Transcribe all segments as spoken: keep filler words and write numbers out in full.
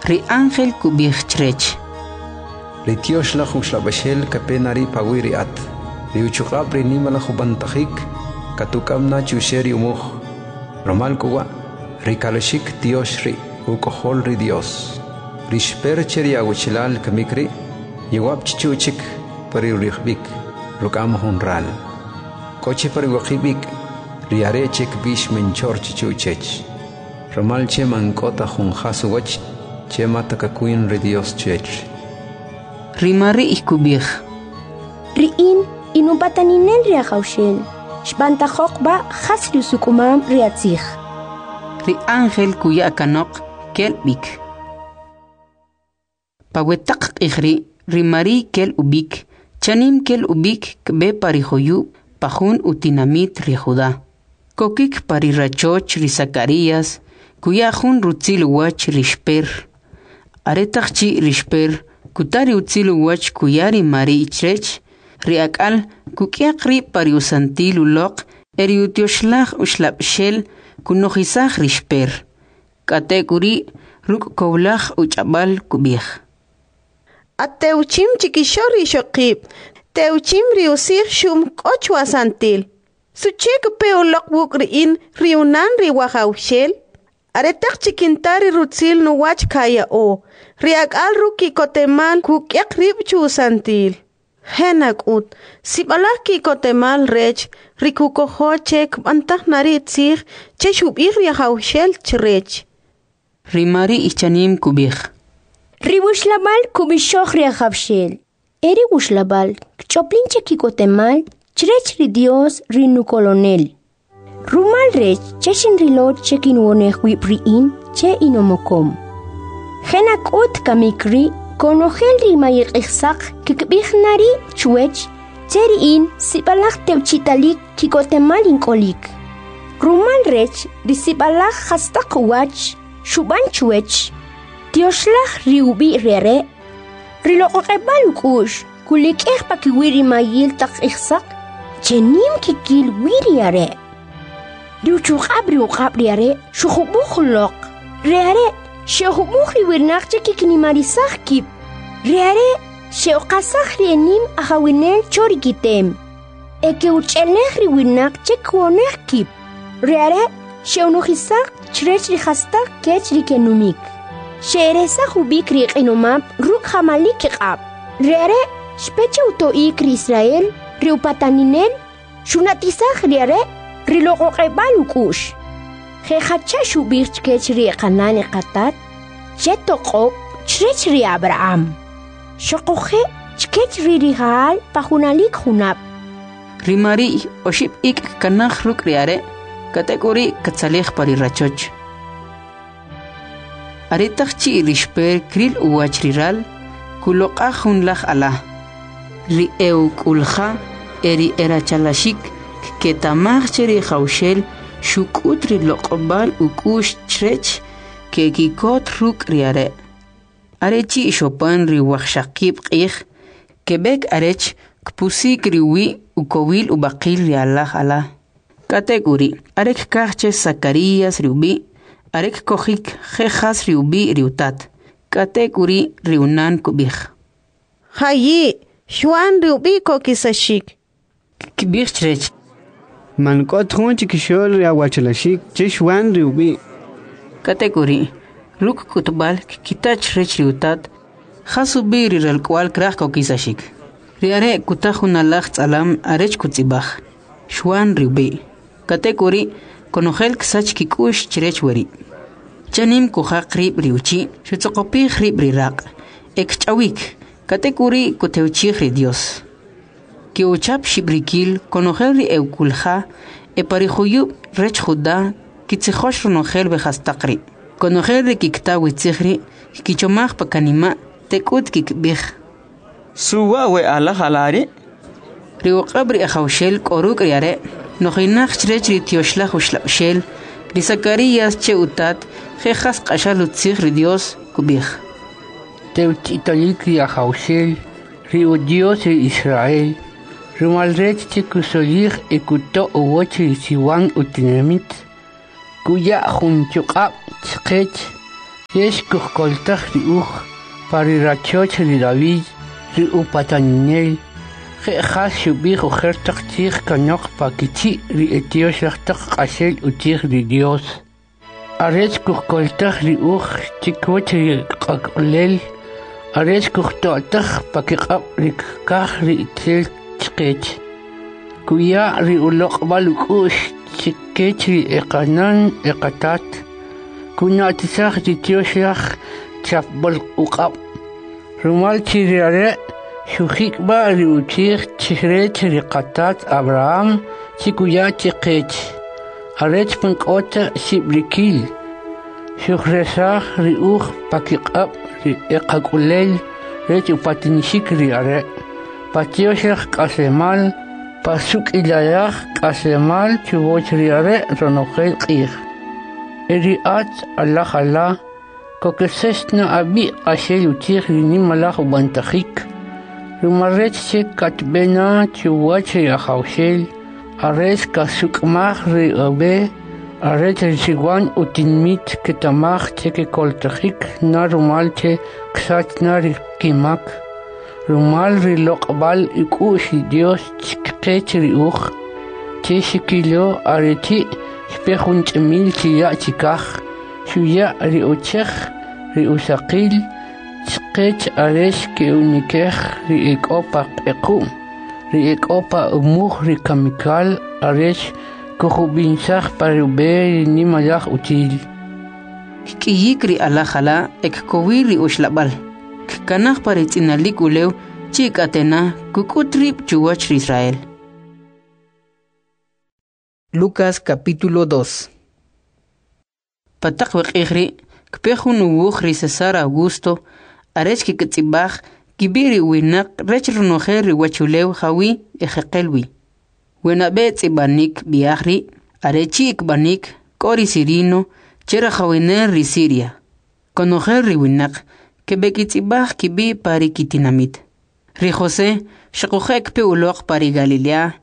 Ri ángel kub'ij chrech: Ri Tyoxlaj Uxlab'axel kape na ri' pawi' ri at, ri uchuq'ab' ri Nimalaj Ub'antajik katuk'am na chuxe' ri umuj. Rumal k'u wa', ri kalaxik tyox ri' Uk'ojol ri Dyos. Ri Xper che ri awachalal kamik ri', yawab' chichu' chik pa ri uri'jb'ik, ruk'am jun ral. K'o chi pa ri waqib' ik', ri are' che kb'ix mencho'r chichu' chech, rumal che man k'o ta jun jas uwach che mata kakwin ri Dyos chech. Ri Mari'y kub'ij: Ri in, in upataninel ri Ajawxel, xb'antajoq b'a' jas ri usuk'umam ri atzij. Ri ángel kuya kanoq, kel b'ik. Pa we taq q'ij ri', ri Mari'y kel ub'ik, chanim kel ub'ik kb'e pa ri juyub' pa jun utinamit ri Juda. Kokik pa ri rachoch ri Zacarías, kuya jun rutzil uwach ri Xper. Aretaq chi' ri Xper kuta ri utzil uwach kuya ri Mari'y chrech, ri ak'al kuk'yaq rib' pa ri usantil uloq e ri Utyoxlaj Uxlab'xel kunojisaj ri Xper. K'atek'uri' ruk' kowlaj uch'ab'al kub'ij: Attewchim chikixo'l ri ixoqib', tewchim ri utzij xu'm k'o chuwasantil. Suche kpe uloq wuk' ri in ri unan ri Wajawxel? Aretaq chi kinta ri rutzil nuwach kaya'o, ri ak'al ruk' ki'kotemal kuk'yaq rib' chu usantil. Je' nak'ut, sib'alaj ki'kotemal rech ri kukojo che kb'antaj na ri tzij che xub'ij ri Ajawxel chrech. Ri Mari'y chanim kub'ij: Ri wuxlab'al kub'ixoj ri Ajawxel, e ri wuxlab'al kch'oplin che ki'kotemal chrech ri Dios ri Nukolonel. Rumal rech che xinrilo che kinwonej wib' ri in che inomokom. Je' nak'ut kamik ri' konojel ri mayiq'ijsaq kkib'ij na ri' chwech che ri in sib'alaj tewchi'talik ki'kotemal ink'olik. Rumal rech ri sib'alaj jastaq uwach xub'an chwech, Tyoxlaj ri ub'i' ri Are'. Ri loq'oq'eb'al uk'u'x kulik'ej pakiwi' ri mayil taq q'ijsaq che nim kikil wi ri Are'. Ri uchuq'ab' ri uq'ab' ri Are' xujub'uj uloq. Ri Are' xe'ujub'uj ri winaq che kikinimarisaj kib'. Ri Are' xe'uqasaj ri enim ajawinel cho ri kitem, e ke'uch'elej ri winaq che kwonej kib'. Ri Are' xe'unojisaj chrech ri jastaq kech ri kenumik. Xe'eresaj ub'ik ri q'inomab' ruk' jamalik kiq'ab'. Ri Are' xpe che uto'ik ri Israel, ri upataninel, xuna'tisaj ri Are' ri loq'oq'eb'al uk'u'x. Je' jacha xub'ij chkech ri eqanan eqatat che toq'ob' chrech ri Abraham, xoquje' chkech ri rija'al pa junalik junab'. Ri Mari'y oxib' ik' kkanaj ruk' ri are', k'atek'uri' katzalij pa ri rachoch. Aretaq chi' ri Xper kril uwach ri ral, kuloq'aj jun laj ala. Ri e'uk'ulja e ri erachalaxik kketa'maj che ri Ajawxel xuk'ut ri loq'ob'al uk'u'x chrech, keki'kot ruk' ri are'. Are chi' xopan ri wajxaqib' q'ij, keb'ek arech kpusik ri uwi' ukowil ub'aqil ri alaj ala. K'atek'uri', are kkaj che Zacarías ri ub'i', are kkojik je' jas ri ub'i' ri utat. K'atek'uri' ri unan kub'ij: Jayi', Xwan ri ub'i' kokisaxik. Kkib'ij chrech: Man k'o ta jun chikixo'l ri awachalaxik che Xwan ri ub'i'. K'atek'uri', ruk' k'utb'al kkita chrech ri utat jas ub'i' ri ralk'uwa'l kraj kokisaxik. Ri are' kuta jun alaj tz'alam arech kutz'ib'aj: Xwan ri ub'i'. K'atek'uri', konojel ksach kik'u'x chrech weri'. Chanim kujaq rib' ri uchi', xutzoqopij rib' ri raq' e kch'awik, k'atek'uri' kutewchij ri Dyos. Ke'uchap xib'rikil konojel ri e'uk'ulja e pa ri juyub' rech Juda kitzijox ronojel we jastaq ri'. Konojel ri kikta we tzij ri' kkichomaj pa kanima' tek'ut kikib'ij: Su wa' we alaj ala ri'? Ri uq'ab' ri Ajawxel k'o ruk' ri are', nojinaq chrech ri Tyoxlaj Uxlab'xel. Ri Zacarías che utat, je' jas q'axal utzij ri Dyos, kub'ij: Tewchi'talik ri Ajawxel, ri Udyos ri Israel, rumal rech che kusolij e kuto' uwach ri siwan utinamit. Kuya jun chuq'ab' chqech Rech kujkoltaj ri uj pa ri rachoch ri David, ri upataninel, je' jas xub'ij ojer taq tzij kanoq pa kichi' ri e tyoxlaj taq q'axel utzij ri Dios. Arech kujkoltaj ri uj chikuch ri qak'ulel, arech kujto'taj pa kiq'ab' ri kkaj ri itzel chqech. Kuya ri uloq'b'al uk'u'x chkech ri e qanan e qatat, kuna'tisaj ri tyoxlaj chapb'al uq'ab'. Rumal chi ri are' xujikb'a ri utzij chrech ri qatat Abraham chi kuya chqech, arech man k'o ta xib'rikil, xujresaj ri uj pa kiq'ab' ri e qak'ulel rech upatinixik ri are', pa tyoxlaj k'aslemal, pa suk'ilalaj k'aslemal chuwach ri are' ronojel q'ij. E ri at alaj ala, kokesex na ab'i' q'axel utzij ri nimalaj ub'antajik, rumal rech che katb'e na chuwach ri Ajawxel, arech kasuk'maj ri ub'e, arech ri siwan utinmit keta'maj che kekoltajik na rumal che ksach na ri kimak, rumal ri loq'b'al uk'u'x ri Dios chqech ri uj, che xkilo are chi' xpe jun ch'imil chila' chikaj, xuya ri uchej ri usaqil chqech arech ke'unikej ri e k'o pa q'equ'm, ri e k'o pa umuj ri kamikal, arech kujub'insaj pa ri ub'e ri nimalaj utzil. Kk'iyik ri alaj ala e kkowir ri uxlab'al, kkanaj pa ri tz'inalik ulew chi k'atena kuk'ut rib' chuwach ri Israel. Lucas capítulo dos. Pa taq we q'ij ri' kpe jun uwuj ri César Augusto arech kkitz'ib'aj kib'i' ri winaq rech ronojel ri uwachulew jawi' ejeqel wi. We nab'e tz'ib'anik b'i'aj ri' are chi' kb'anik k'o ri Cirino che rajawinel ri Siria. Konojel ri winaq keb'ekitz'ib'aj kib'i' pa ri kitinamit. Ri José xuquje' kpe uloq pa ri Galilea,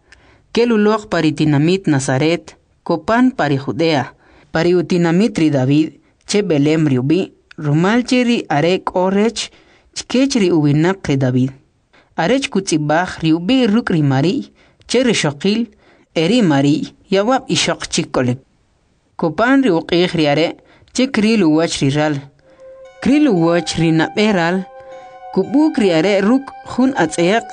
kel uloq pa ri tinamit Nazaret, kopan pa ri Judea, pa ri utinamit ri David, che Belém ri ub'i', rumal che ri are' k'o rech chkech ri uwinaq ri David. Arech kutz'ib'aj ri ub'i' ruk' ri Mari'y, che rixoqil, e ri Mari'y yawab' ixoq chik k'olik. Kopan ri uq'ij ri are' che kril uwach ri ral. Kril uwach ri nab'e ral, kub'uk ri are' ruk' jun atz'yaq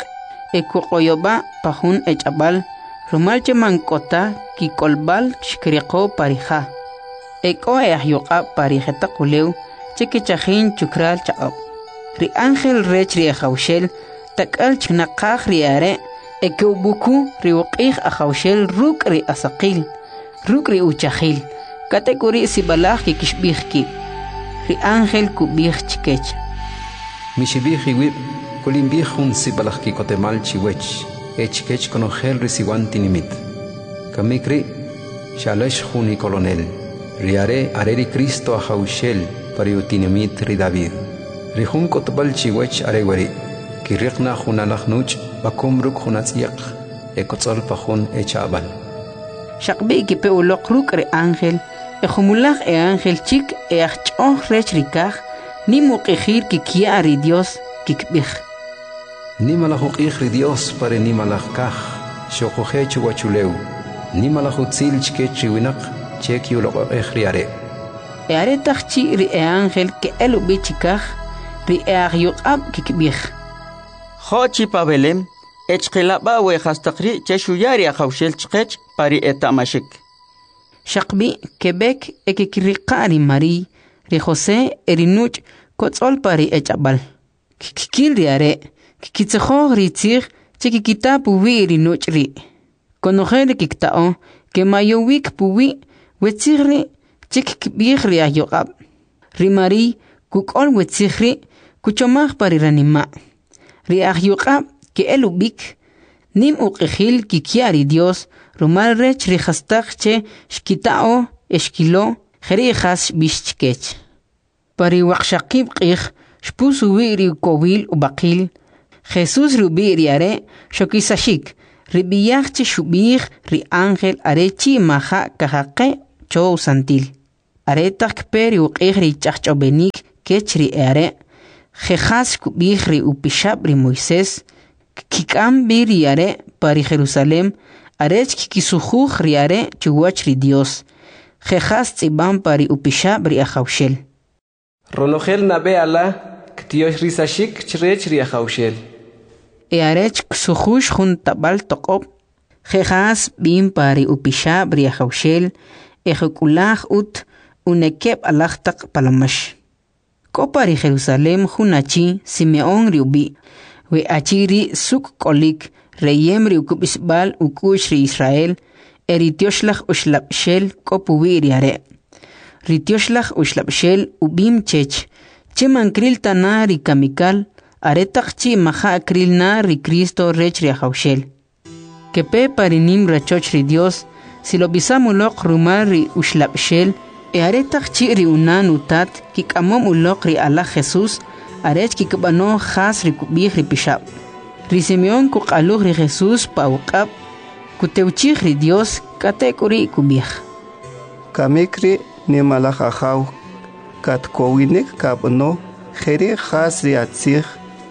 e kuq'oyob'a' pa jun ech'ab'al, rumal che man k'o ta kik'olb'al xkiriqo pa ri ja. E k'o e ajyuq'ab' pa ri jetaq ulew che kechajin chukral chaq'ab'. Ri ángel rech ri Ajawxel tak'al chnaqaj ri are' e ke'ub'uku ri uq'ij Ajawxel ruk' ri asaqil, ruk' ri uchajil, k'atek'uri' sib'alaj kikixb'ij kib'. Ri ángel kub'ij chkech: Mixib'ij iwib', kulinb'ij jun sib'alaj ki'kotemal chiwech e chkech konojel ri siwan tinimit. Kamik ri' xa'lax jun ikolonel, ri are' are ri Cristo Ajawxel pa ri utinamit ri David. Ri jun k'utb'al chiwech are weri', kiriq na jun alaj nuch' b'akum ruk' jun atz'yaq e kotz'ol pa jun echa'b'al. Xaqb'i kipe uloq ruk' ri ángel, e jumulaj e ángel chik e ajch'oj rech ri kaj, nim uq'ijil kikya' ri Dios kikb'ij. Nimalaj uq'ij ri Dios pa ri nimalaj kaj, xuquje' chuwachulew, nimalaj utzil chkech ri winaq che kiuloq'oq'ej ri are'. E aretaq chi' ri e ángel ke'el ub'i chikaj, ri e ajyuq'ab' kikb'ij: Jo' chi pa Belém, e chqilab'a' we jastaq ri' che xuya ri Ajawxel chqech pa ri eta'maxik. Xaqb'i' keb'ek e kekiriqa' ri Mari'y, ri José e ri nuch' kotz'ol pa ri ech'ab'al. Kkil ri are', kkitzijoj ri tzij che kikita puwi' ri nuch' ri'. Konojel ri kikta'o kemayowik puwi' we tzij ri' che kkib'ij ri ajyuq'ab'. Ri Mari'y kuk'ol we tzij ri' kuchomaj pa ri ranima'. Ri ajyuq'ab' ke'el ub'ik, nim uq'ijil kikya' ri Dios rumal rech ri jastaq che xkita'o e xkilo, jeri' jas xb'ix chkech. Pa ri waqxaqib' q'ij xpus uwi' ri ukowil ub'aqil, Jesús ri ub'i' ri are' xokisaxik, ri b'iyaj che xub'ij ri ángel are chi' maja' kajaqe' cho usantil. Aretaq kpe ri uq'ij ri ch'ajch'ob'enik kech ri e'are', je' jas kub'ij ri upixab' ri Moisés, kkik'am b'i ri are' pa ri Jerusalem arech kkisujuj ri are' chuwach ri Dios, je' jas tz'ib'am pa ri upixab' ri Ajawxel. Ronojel nab'e ala ktyoxrisaxik chrech ri Ajawxel. E arech ksujux jun tab'al toq'ob', je' jas b'im pa ri upixab' ri Ajawxel, e juk'ulaj ut unekeb' alaj taq palomax. K'o pa ri Jerusalem jun achi, Simeón ri ub'i'. We achi ri' suk' k'olik, reyem ri ukub'isb'al uk'u'x ri Israel, e ri Tyoxlaj Uxlab'xel k'o puwi' ri are'. Ri Tyoxlaj Uxlab'xel ub'im chech, che man kril ta na ri kamikal, aretaq chi' maja' kril na ri Cristo rech ri Ajawxel. Kepe pa ri nim rachoch ri Dios, silob'isam uloq rumal ri Uxlab'xel, e aretaq chi' ri unan utat kik'amom uloq ri alaj Jesús, arech kikb'ano jas ri kub'ij ri pixab'. Ri Simeón kuq'aluj ri Jesús pa uq'ab', kutewchij ri Dios, k'atek'uri' kub'ij: Kamik ri' nimalaj Ajaw, katkowinik kab'ano jeri' jas ri atzij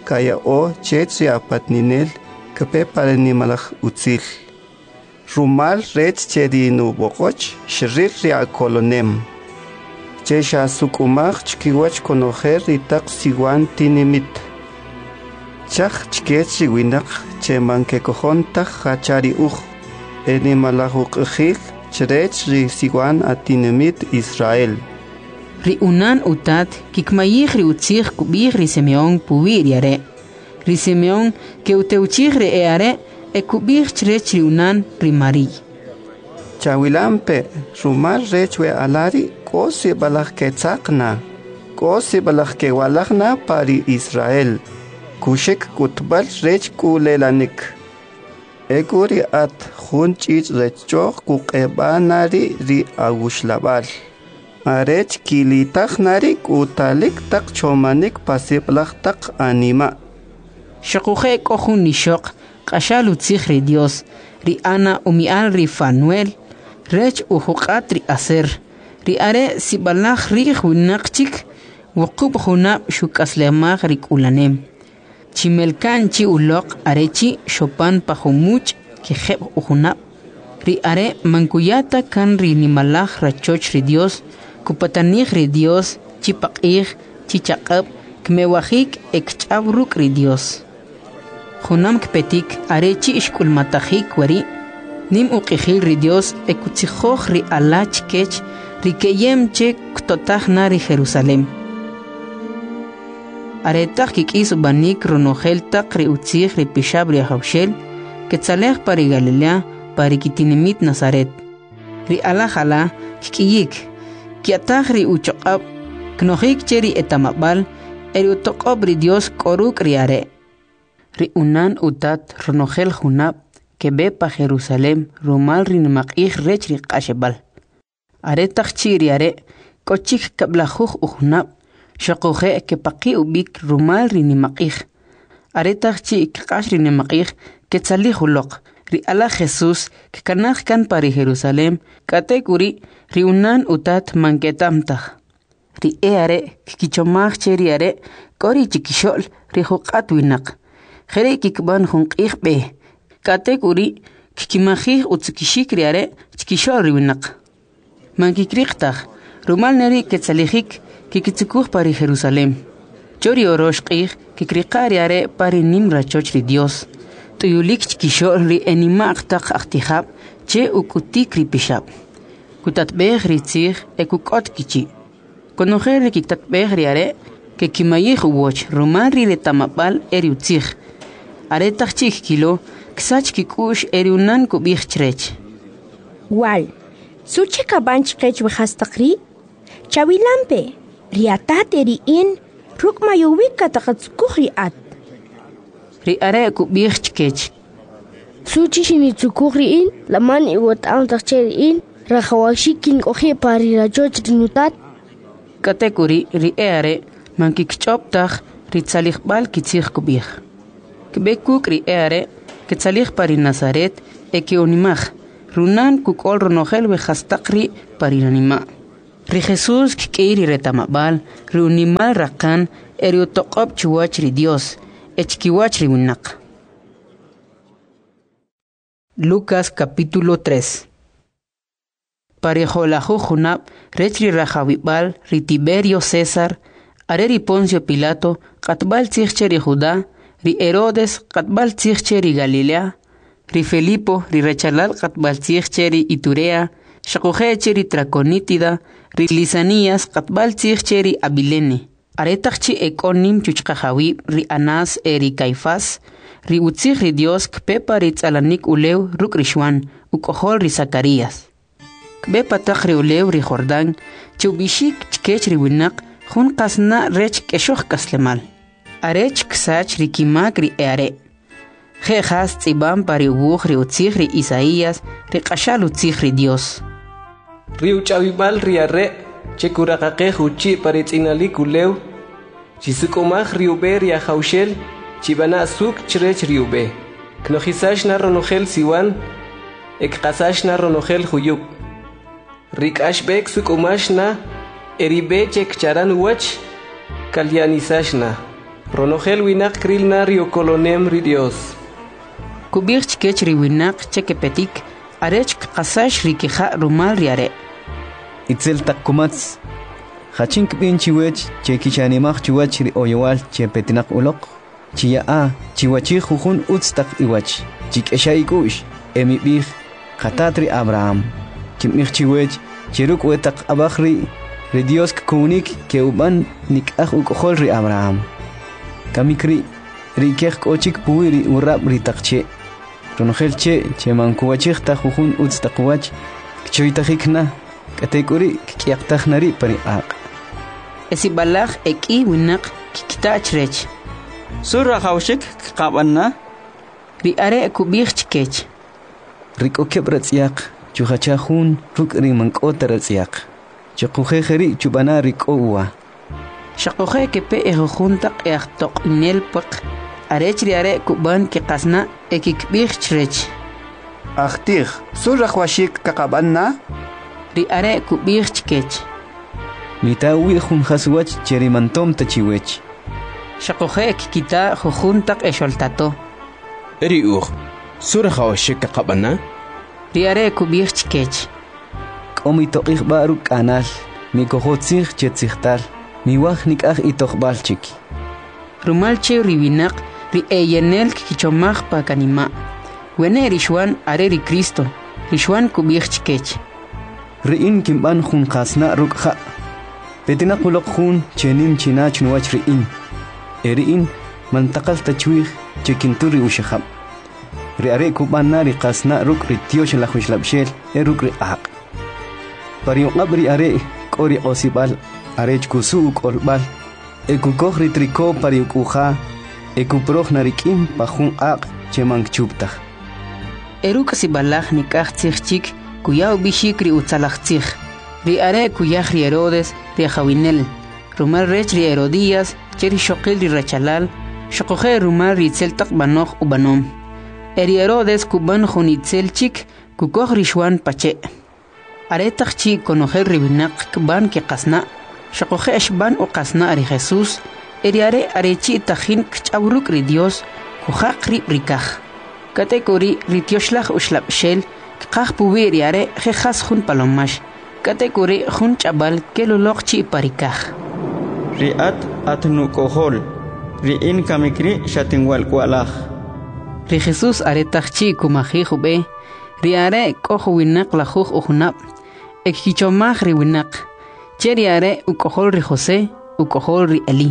kaya'o chech ri apatninel kpe pa ri nimalaj utzil. Rumal rech che ri nub'oq'och xril ri akolonem, che xasuk'umaj chkiwach konojel ri taq siwan tinimit. Chaj chkech ri winaq che man kekojon taj jacha ri uj, e nimalaj uq'ijil chrech ri siwan atinimit Israel. Ri unan utat kikmayij ri utzij kub'ij ri Simeón puwi' ri are'. Ri Simeón ke'utewchij ri e'are' e kub'ij chrech ri unan ri Mariy. Chawilampe, rumal rech we ala ri' k'o sib'alaj ketzaq na, k'o sib'alaj kewalaj na pa ri Israel, kuxek k'utb'al rech k'ulelanik. E k'u ri at jun ch'ich' rech ch'o'j kuq'eb'a na ri' ri awuxlab'al, arech kilitaj na ri k'utalik taq chomanik pa sib'alaj taq anima'. Xuquje' k'o jun ixoq q'axal utzij ri Dios, ri Ana umi'al ri Fanuel, rech ujuq'at ri Aser. Ri are' sib'alaj ri'j winaq chik, wuqub' junab' xuk'aslemaj ri k'ulanem. Chimelka'n chi uloq are chi' xopan pa jumuch' kijeb' ujunab'. Ri are' man kuya ta kan ri nimalaj rachoch ri Dios, kupatanij ri Dios chi paq'ij chi chaq'ab' kmewajik e kch'aw ruk' ri Dios. Junam kpetik are chi' xk'ulmatajik wari', nim uq'ijil ri Dios e kutzijoj ri ala chkech ri keyem che ktotaj na ri Jerusalem. Aretaq kik'is ub'anik ronojel taq ri utzij ri pixab' ri Ajawxel, ketzalej pa ri Galilea, pa ri kitinimit Nazaret. Ri alaj ala kk'iyik, kya'taj ri uchoq'ab', knojik che ri etamab'al, e ri utoq'ob' ri Dios k'o ruk' ri are'. Ri unan utat ronojel junab' keb'e pa Jerusalem rumal ri nimaq'ij rech ri Q'axeb'al. Aretaq chi' ri are' k'o chik kab'lajuj ujunab', xuquje' kepaqi' ub'ik rumal ri nimaq'ij. Aretaq chi' kq'ax ri nimaq'ij, ketzalij uloq. Ri alaj Jesús kkanaj kan pa ri Jerusalem, k'atek'uri' ri unan utat man keta'm taj. Ri e'are' kkichomaj che ri are' k'o ri chikixo'l ri juq'at winaq. Jeri' kikb'an jun q'ij b'e, k'atek'uri' kkimajij utzukixik ri are' chkixo'l ri winaq. Man kikriq taj, rumal neri' ketzalijik kikitzukuj pa ri Jerusalem. Cho ri orox q'ij kikriqa' ri are' pa ri nim rachoch ri Dios, t'uyulik chkixo'l ri enima'q taq ajtijab' che uk'utik ri pixab'. Kutatb'ej ri tzij e kuk'ot kichi'. Konojel ri kiktatb'ej ri are' kekimayij uwach rumal ri reta'mab'al e ri utzij. Aretaq chi' kkilo, ksach kik'u'x e ri unan kub'ij chrech: Wal, suche kab'an chqech we jastaq ri'? Chawilampe, ri atat e ri in ruk' mayowik kataqatzukuj ri at. Ri are' kub'ij chkech: Suchi xinitzukuj ri in, la man iweta'am taj che ri in rajawaxik kink'oji' pa ri rachoch ri nutat? K'atek'uri' ri e'are' man kikch'ob' taj ri tzalijb'al kitzij kub'ij. Kb'e kuk' ri e'are' ketzalij pa ri Nazaret e ke'unimaj. Runan kuk'ol ronojel we jastaq ri' pa ri ranima'. Ri Jesús kk'iy ri reta'mab'al, ri unimal raqan e ri utoq'ob' chuwach ri Dios e chkiwach ri winaq. Lucas capítulo tres. Pa ri jo'lajuj junab' rech ri rajawib'al ri Tiberio César, are ri Poncio Pilato q'atb'al tzij che ri Judá, ri Herodes q'atb'al tzij che ri Galilea, ri Felipo ri rachalal q'atb'al tzij che ri Iturea, xuquje' che ri Traconítida, ri Lisanias q'atb'al tzij che ri Abilene. Aretaq chi' e k'o nim chuchqajawib' ri Anás e ri Caifás, ri utzij ri Dios kpe pa ri tz'alanik ulew ruk' ri Xuan, uk'ojol ri Zacarías. Kb'e pa taq ri ulew ri Jordán, che ub'ixik chkech ri winaq jun qasna' rech k'exoj k'aslemal, arech ksach ri kimak ri e are'. Je' jas tz'ib'am pa ri uwuj ri utzij ri Isaías, ri q'axal utzij ri Dios. Ri uch'awib'al ri are' che kuraqaqej uchi' pa ri tz'inalik ulew, chisuk'umaj ri ub'e ri Ajawxel, chib'ana' suk' chrech ri ub'e. Knojisax na ronojel siwan, e kqasax na ronojel juyub'. Ri k'ax b'e ksuk'umax na, e ri b'e che kcharan uwach, kalyanisax na. Ronojel winaq kril na ri ukolonem ri Dios. Kub'ij chkech ri winaq che kepetik, arech kqasax ri kija' rumal ri are'. Itzel taq kumatz, jachin kb'in chiwech che kichanimaj chuwach ri oyowal che petinaq uloq, chiya'a chiwachij jujun utz taq iwach, chik'exa ik'u'x, e mib'ij qatat ri Abraham. Kinb'ij chiwech che ruk' we taq ab'aj ri' ri Dios kkownik ke'ub'an nik'aj uk'ojol ri Abraham. Kamik ri' ri ikej k'o chik puwi' ri urab' ri taq che'. Ronojel che' che man kuwachij ta jujun utz taq uwach, kchoytajik na, k'atek'uri' kk'yaqtaj na ri' pa ri q'aq'. E sib'alaj e k'i winaq kkita' chrech. Su rajawxik kqab'an na? Ri are' kub'ij chkech. Ri k'o keb' ratz'yaq chujacha jun ruk' ri man k'o ta ratz'yaq. Xuquje' jeri' chub'ana ri k'o uwa. Xuquje' kepe e jujun taq e ajtoq'inel pwaq, arech ri are' kub'an kiqasna' e kikb'ij chrech. Ajtij, su rajwaxik kaqab'an na? Ri are' kub'ij chkech. Mita uwi' jun jas uwach che ri man tom ta chiwech. Xuquje' kkita jujun taq exoltato. E ri uj, su rajwaxik kaqab'an na? Ri are' kub'ij chkech. K'o mitoq'ij b'a' ruk' k'anal, mikojo tzij che tzijtal, miwaj nik'aj itoq'b'al chik. Rumal che ri winaq ri eyenel kkichomaj pa kanima'. Wene' ri Xuan are ri Cristo, ri Xuan kub'ij chkech. Ri in kinb'an jun qasna' ruk' ja'. Petinaq uloq jun che nim china chnuwach ri in. E ri in man taqal ta chwij che kintur ri uxajab'. Ri are' kub'an na ri qasna' ruk' ri Tyoxlaj Uxlab'xel e ruk' ri q'aq'. Pa ri uq'ab' ri are' k'o ri q'osib'al arech kusu' uk'olb'al, e kukoj ri triko pa ri uk'uja, e kuproj na ri k'im pa jun q'aq' che man kchup taj. E ruk' sib'alaj nik'aj tzij chik kuya ub'ixik ri utzalaj tzij. Ri are' kuyaj ri Herodes ri ajawinel, rumal rech ri Herodías che rixoqil ri rachalal, xuquje' rumal ri itzel taq b'anoj ub'anom. E ri Herodes kub'an jun itzel chik kukoj ri Xuan pa che'. Aretaq chi' konojel ri winaq kb'an kiqasna', xuquje' xb'an uqasna' ri Jesús, e ri are' are chi' tajin kch'aw ruk' ri Dios, kujaq rib' ri kaj. K'atek'uri' ri Tyoxlaj Uxlab'xel kqaj puwi' ri are' je' jas jun palomax. K'atek'uri' jun ch'ab'al kel uloq chi' pa ri kaj. Ri at at nuk'ojol, ri in kamik ri' xatinwalk'wa'laj. Ri Jesús aretaq chi' kumajij ub'e, ri are' k'o juwinaq lajuj ujunab', e kkichomaj ri winaq, che ri are' uk'ojol ri José, uk'ojol ri Elí,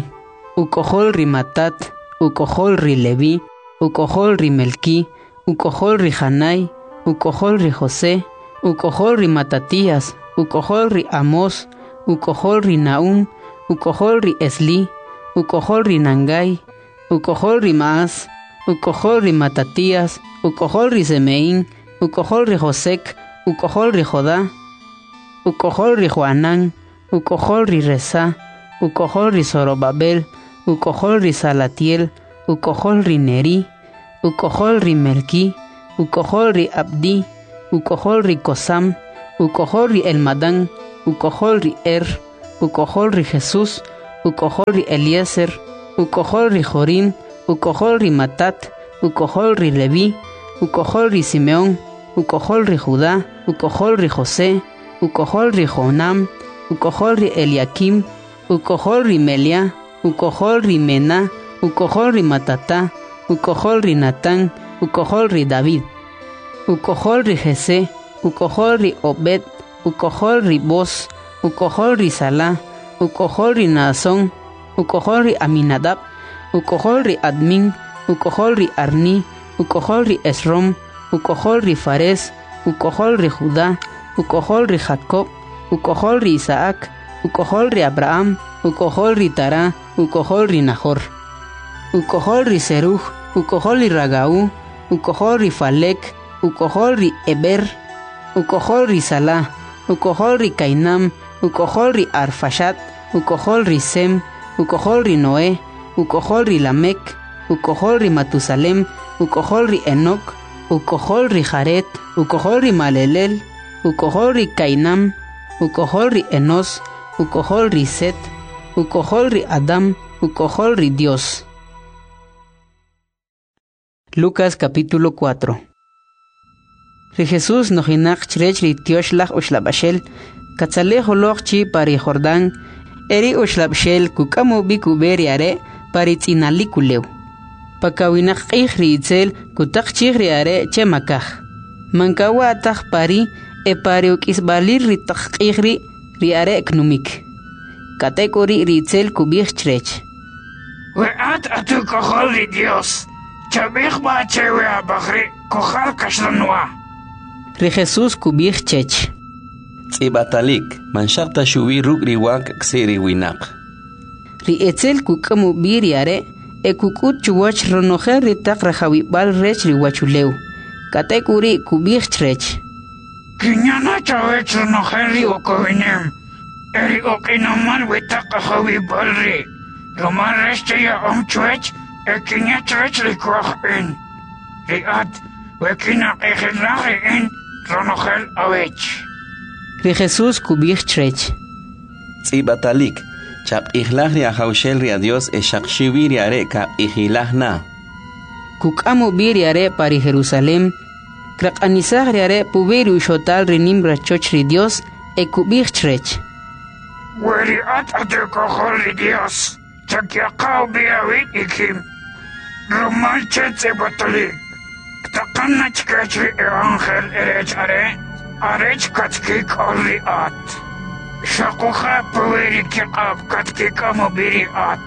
uk'ojol ri Matat, uk'ojol ri Leví, uk'ojol ri Melquí, uk'ojol ri Janai, uk'ojol ri José, uk'ojol ri Matatías, uk'ojol ri Amós, uk'ojol ri Nahum, uk'ojol ri Esli, uk'ojol ri Nangai, uk'ojol ri Maas, uk'ojol ri Matatías, uk'ojol ri Semeín, uk'ojol ri Josek, uk'ojol ri Jodá, uk'ojol ri Joanán, uk'ojol ri Resa, uk'ojol ri Zorobabel, uk'ojol ri Salatiel, uk'ojol ri Neri, uk'ojol ri Melquí, uk'ojol ri Abdi, uk'ojol ri Kosam, uk'ojol ri Elmadán, uk'ojol ri Er, uk'ojol ri Jesús, uk'ojol ri Eliezer, uk'ojol ri Jorim, uk'ojol ri Matat, uk'ojol ri Leví, uk'ojol ri Simeón, uk'ojol ri Judá, uk'ojol ri José, uk'ojol ri Jonam, uk'ojol ri Eliakim, uk'ojol ri Melia, uk'ojol ri Mena, uk'ojol ri Matata, uk'ojol ri Natán, uk'ojol ri David, uk'ojol ri Jesé, uk'ojol ri Obed, uk'ojol ri Boz, uk'ojol ri Salá, uk'ojol ri Naasón, uk'ojol ri Aminadab, uk'ojol ri Admin, uk'ojol ri Arni, uk'ojol ri Esrom, uk'ojol ri Fares, uk'ojol ri Judá, uk'ojol ri Jacob, uk'ojol ri Isaac, uk'ojol ri Abraham, uk'ojol ri Tara, uk'ojol ri Nahor, uk'ojol ri Seruj, uk'ojol ri Ragau, uk'ojol ri Falek, uk'ojol ri Eber, uk'ojol ri Salah, uk'ojol ri Kainam, uk'ojol ri Arfaxat, uk'ojol ri Sem, uk'ojol ri Noé, uk'ojol ri Lamek, uk'ojol ri Matusalem, uk'ojol ri Enoc, uk'ojol ri Jared, uk'ojol ri Malelel, uk'ojol ri Kainam, uk'ojol ri Enos, uk'ojol ri Set, uk'ojol ri Adam, uk'ojol ri Dios. Lucas capítulo cuatro. Ri Jesús nojinaq chrech ri tyoxlaj uxlab'axel, katzalej uloq chi pa ri Jordán, eri uxlab'xel kuk'am ub'i kub'e ri are' pa ri tz'inalik ulew. Pakawinaq q'ij ri itzel kutaq chij ri are' che makaj. Mankawa taj pari e pari uk'isb'alir ri taq q'ij ri' ri are' knumik. K'atek'uri' ri itzel kub'ij chrech. We at atuk'ojol ri Dios, chab'ij b'a che we ab'aj ri' kujal kaxlanwa. Ri Jesús kub'ij chech. Tz'ib'atalik, man xaq ta xuwi ruk' ri wa k'si ri winaq. Ri etzel kuk'am ub'i ri are' e kuk'ut chuwach ronojel ri taq rajawib'al rech ri wachulew. K'atek'uri' kub'ij chrech. Kinyana chawech ronojel ri ukowinem, e ri uq'inomal wi taq ajawib'al ri', rumal rech che ya'om chwech e kinya chrech ri kwaj in. Ri at, we kinaq'ijilaj ri in ronojel awech. Ri Jesús kub'ij chrech. Tz'ib'atalik, chaq'ijlaj ri ajawxel ri a Dios e xaq xiwi ri are' kaq'ijilaj na. Kuk'am ub'i ri are' pa ri Jerusalem, kraq'anisaj ri are' puwi' ri uxotal ri nim rachoch ri Dios e kub'ij chrech. We ri at atuk'ojol ri Dios, chakyaqa ub'i awib' ikim, rumal che tz'ib'atalik, ktaqan na chkech ri e ángel erech are', arech katkik'ol ri at. Xuquje' puwi' ri kiq'ab' katkik'am ub'i ri at,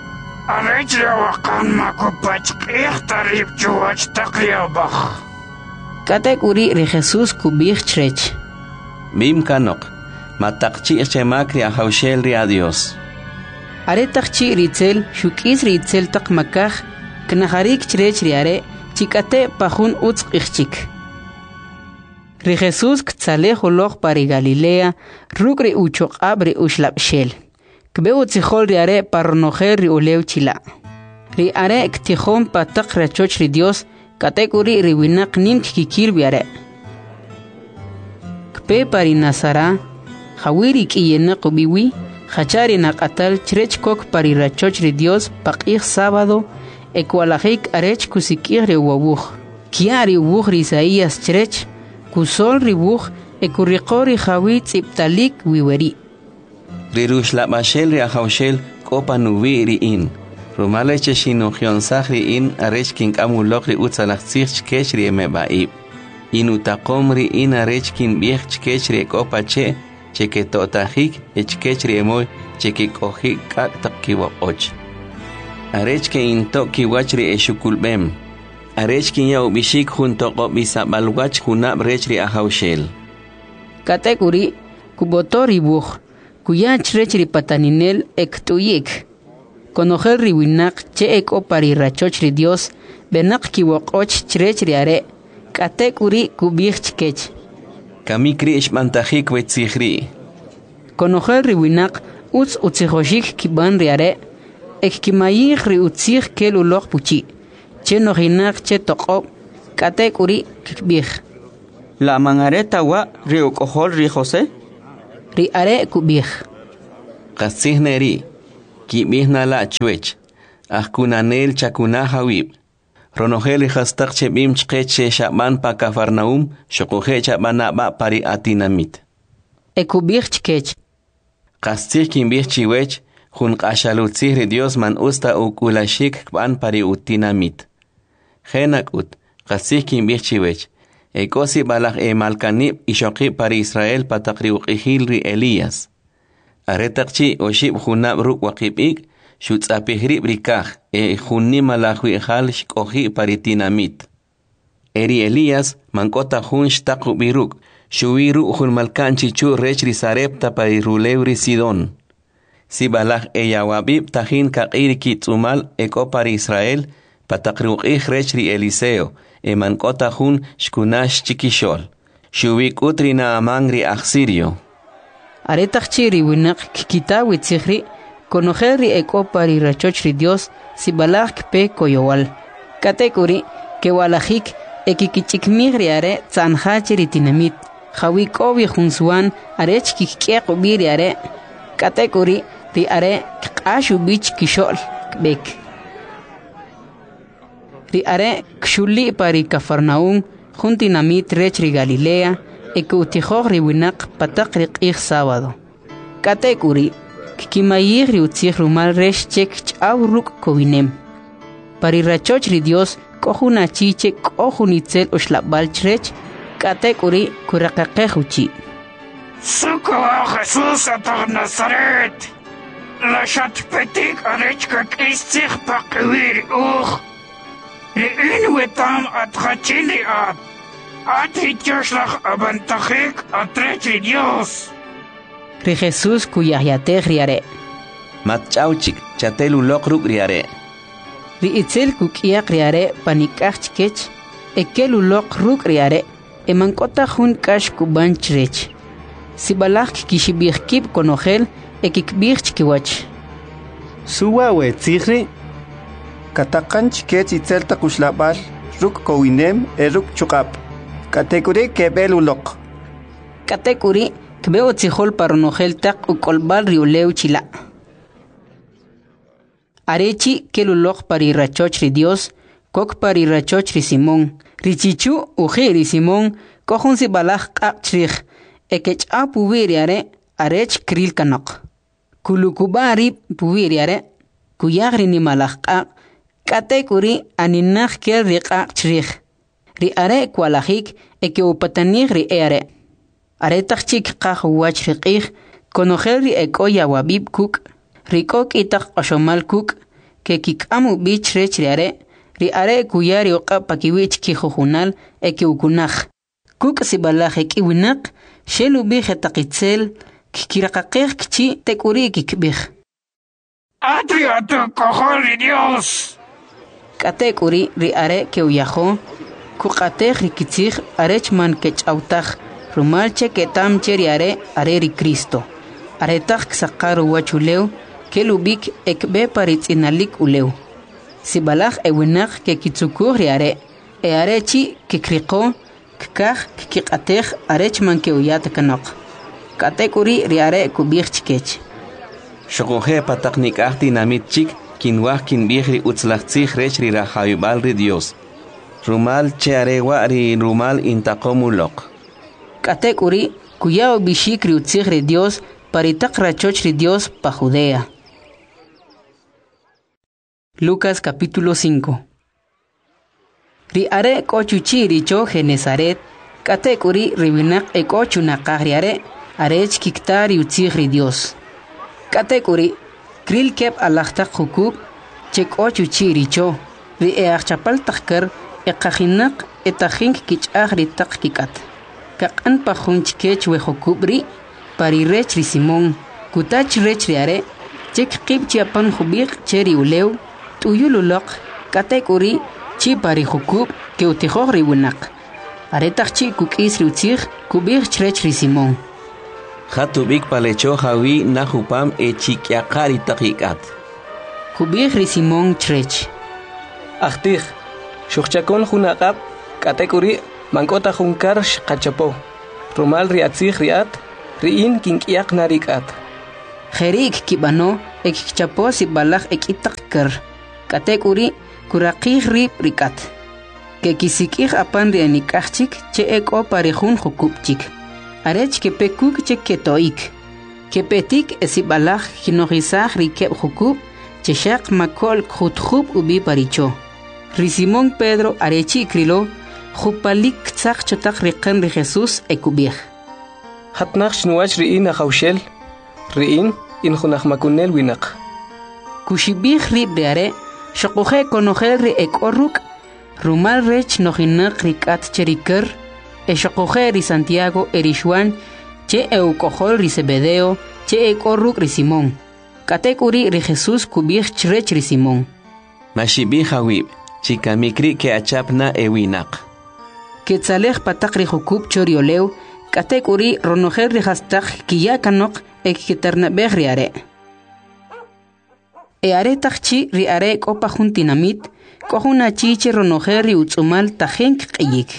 arech ri awaqan ma kupachq'ij ta rib' chuwach taq ri ab'aj. K'atek'uri' ri Jesús kub'ij chrech. B'im kanoq, mataqchi'j che mak ri ajawxel ri a Dios. Aretaq chi' ri itzel xuk'is ri itzel taq makaj, knajarik chrech ri are' chi k'ate' pa jun utz q'ij chik. Ri Jesús ktzalej uloq pa ri Galilea ruk' ri uchoq'ab' ri uxlab'xel. Kb'e utzijol ri are' pa ronojel ri ulew chila'. Ri are' ktijon pa taq rachoch ri Dios, k'atek'uri' ri winaq nim kkikil wi are'. Kpe pa ri Nazara, jawi' ri k'iyenaq ub'i wi, jacha ri naq'atal chrech kok pa ri rachoch ri Dios pa q'ij sábado e kwa'lajik arech kusik'ij ri uwuj. Kya' ri uwuj ri Isaías chrech, kusol ri wuj e kuriqo ri jawi' tz'ib'talik wi weri'. Ri ruxlab'axel ri ajawxel k'o pa nuwi' ri in, rumal che xinujyonsaj ri in arech kink'am uloq ri utzalaj tzij chkech ri emeb'a'ib'. In utaqom ri in arech kinb'ij chkech ri ek'o pa che' che keto'tajik e chkech ri emoy che kik'oji' k'ak' taq kiwoq'och. Arech ke'into' kiwach ri exukulb'em. Arech kinya ub'ixik jun toq'ob'isab'al wach junab' rech ri ajawxel. K'atek'uri' kub'oto ri wuj, kuya chrech ri pataninel e kt'uyik. Konojel ri winaq che ek'o pa ri rachoch ri Dios, b'enaq kiwoq'och chrech ri are', k'atek'uri' kub'ij chkech. Kamik ri' xb'antajik we tzij ri'. Konojel ri winaq utz utzijoxik kib'an ri are' e kkimayij ri utzij kel uloq puchi', che nojinaq che toq'ob', k'atek'uri' kkib'ij. La man are ta wa' ri uk'ojol ri José? Ri are' kub'ij: Qastzij ne ri', kib'ij na la' chwech, ajkunanel chakunaj awib'. Ronojel ri jastaq che b'im chqech che xab'an pa Cafarnaúm, xuquje' chab'ana b'a' pa ri atinamit. E kub'ij chkech: Qastzij kinb'ij chiwech, jun q'axal utzij ri Dios man utz ta uk'ulaxik kb'an pa ri utinamit. Je' nak'ut, qastzij kinb'ij chiwech, e k'o sib'alaj emalkanib' ixoqib' pa ri Israel pa taq ri uq'ijil ri Elías. Aretaq chi' oxib' junab' ruk' waqib' ik', xutz'apij rib' ri kaj e jun nimalaj wi'jal xk'oji' pa ri tinamit. E ri Elías man k'o ta jun xtaq ub'i ruk', xuwi ruk' jun malka'n chichu' rech ri Sarepta pa ri rulew ri Sidón. Sib'alaj eyawab'ib' tajin kaq'i ri kitz'umal e k'o pa ri Israel pa taq ri uq'ij rech ri Eliseo e man k'o ta jun xkunax chikixo'l, xuwi k'ut ri Naamán ri aj Sirio. Aretaq chi' ri winaq kkita we tzij ri', konojel ri e k'o pa ri rachoch ri Dios sib'alaj kpe koyowal. K'atek'uri' kewa'lajik e kkich'ikmij ri are' tza'nja che ri tinamit, jawi' k'o wi jun suwan arech kkik'yaq ub'i ri are'. K'atek'uri' ri are' kq'ax ub'i chkixo'l kb'ek. Ri are' kxuli' pa ri Cafarnaúm, jun tinamit rech ri Galilea, e ke'utijoj ri winaq pa taq ri q'ij sábado. K'atek'uri' kkimayij ri utzij rumal rech che kch'aw ruk' kowinem. Pa ri rachoch ri Dios k'o jun achi che k'o jun itzel uxlab'al chrech, k'atek'uri' kuraqaqej uchi': Su kawaj Jesús at aj Nazaret? La xatpetik arech kak'is tzij paqiwi' ri uj? Ri in wetam at jachin ri at, at ri tyoxlaj ab'antajik at rech ri Dios. Ri Jesús kuyajyatej ri are'. Match'aw chik, chatel uloq ruk' ri are'. Ri itzel kuk'yaq ri are' panik'aj chkech, e kel uloq ruk' ri are' e man k'o ta jun k'ax kub'an chrech. Sib'alaj kkixib'ij kib' konojel e kikb'ij chkiwach: Su wa' we tzij ri'? Kataqan chkech itzel taq uxlab'al ruk' kowinem e ruk' chuq'ab', k'atek'uri' keb'el uloq. K'atek'uri' kb'e utzijol pa ronojel taq uk'olb'al ri ulew chila'. Are chi' kel uloq pa ri rachoch ri Dios, kok pa ri rachoch ri Simón. Ri chichu' uji' ri Simón k'o jun sib'alaj q'aq' chrij, e kech'aw puwi' ri are' arech kril kanoq. Kulukub'a' rib' puwi' ri are', kuyaj ri nimalaj q'aq', k'atek'uri' aninaq kel ri q'aq' chrij. Ri are' kwa'lajik e ke'upatanij ri e'are'. Aretaq chi' kqaj uwach ri q'ij, konojel ri e k'o yawab'ib' kuk', ri k'o k'i taq q'oxomal kuk', kekik'am ub'i chrech ri are'. Ri are' kuya ri uq'ab' pakiwi' chkijujunal e ke'ukunaj. Kuk' sib'alaj e k'i winaq, xel ub'i jetaq itzel, kkiraqaqej kichi' tek'uri' kikb'ij: At ri at uk'ojol ri Dios! K'atek'uri' ri are' ke'uyajo, kuq'atej ri kitzij arech man kech'aw taj, rumal che keta'm che ri are' are ri Cristo. Aretaq ksaqar uwach ulew, kel ub'ik e kb'e pa ri tz'inalik ulew. Sib'alaj e winaq kekitzukuj ri are', e are chi' kekriqo, kkaj kkiq'atej arech man ke'uya ta kanoq. K'atek'uri' ri are' kub'ij chkech: Xuquje' pa taq nik'aj tinamit chik kinwaj kinb'ij ri utzalaj tzij rech ri rajawib'al ri Dios, rumal che are wa' ri rumal intaqom uloq. K'atek'uri' kuya ub'ixik ri utzij ri Dios pa ri taq rachoch ri Dios pa Judea. Lucas capítulo cinco. Ri are' k'o chuchi' ri cho Genesaret, k'atek'uri' ri winaq e k'o chunaqaj ri are' arech kikta ri utzij ri Dios. K'atek'uri' kril keb' alaj taq jukub' che k'o chuchi' ri cho, ri e ajchapal taq kar e qajinaq e tajin kkich'aj ri taq kik'at. Kaq'an pa jun chkech we jukub' ri', pa ri rech ri Simón, kuta chrech ri are' che kqib' chi apan jub'iq' che ri ulew, t'uyul uloq, k'atek'uri' chi' pa ri jukub' ke'utijoj ri winaq. Aretaq chi' kuk'is ri utzij, kub'ij chrech ri Simón: Jat ub'ik pa le cho jawi' naj upam e chik'yaqa' ri taq ik'at. Kub'ij ri Simón chrech: Ajtij, xujchakun jun aq'ab', k'atek'uri' man k'o ta jun kar xqachapo. Rumal ri atzij ri at, Ri in kink'yaq na ri k'at. Jeri' kkib'ano e kkichapo sib'alaj ek'i taq kar. K'atek'uri' kuraqij rib' ri k'at. Kekisik'ij apan ri enik'aj chik che ek'o pa ri jun jukub' chik, arech kepe kuk' che keto'ik. Kepetik e sib'alaj kkinojisaj ri keb' jukub' che xaq mako'l kjutjub' ub'i pa ri cho. Ri Simón Pedro arechi' krilo, jupalik ktzaq cho taq riqan ri Jesús e kub'ij: Jat naj chnuwach ri in Ajawxel, ri in, in jun ajmakunel winaq. Kuxib'ij rib' ri are', xuquje' konojel ri ek'o ruk', rumal rech nojinaq ri k'at che ri kar, e xuquje' ri Santiago e ri Xuan, che e uk'ojol ri Zebedeo, che ek'o ruk' ri Simón. K'atek'uri' ri Jesús kub'ij chrech ri Simón: Maxib'ij awib', chikamik ri' ke'achap na e winaq. Ketzalej pa taq ri jukub' cho ri ulew, k'atek'uri' ronojel ri jastaq kkiya kanoq e kkiternab'ej ri are'. E aretaq chi' ri are' k'o pa jun tinamit, k'o jun achi che ronojel ri utz'umal tajin kq'iyik.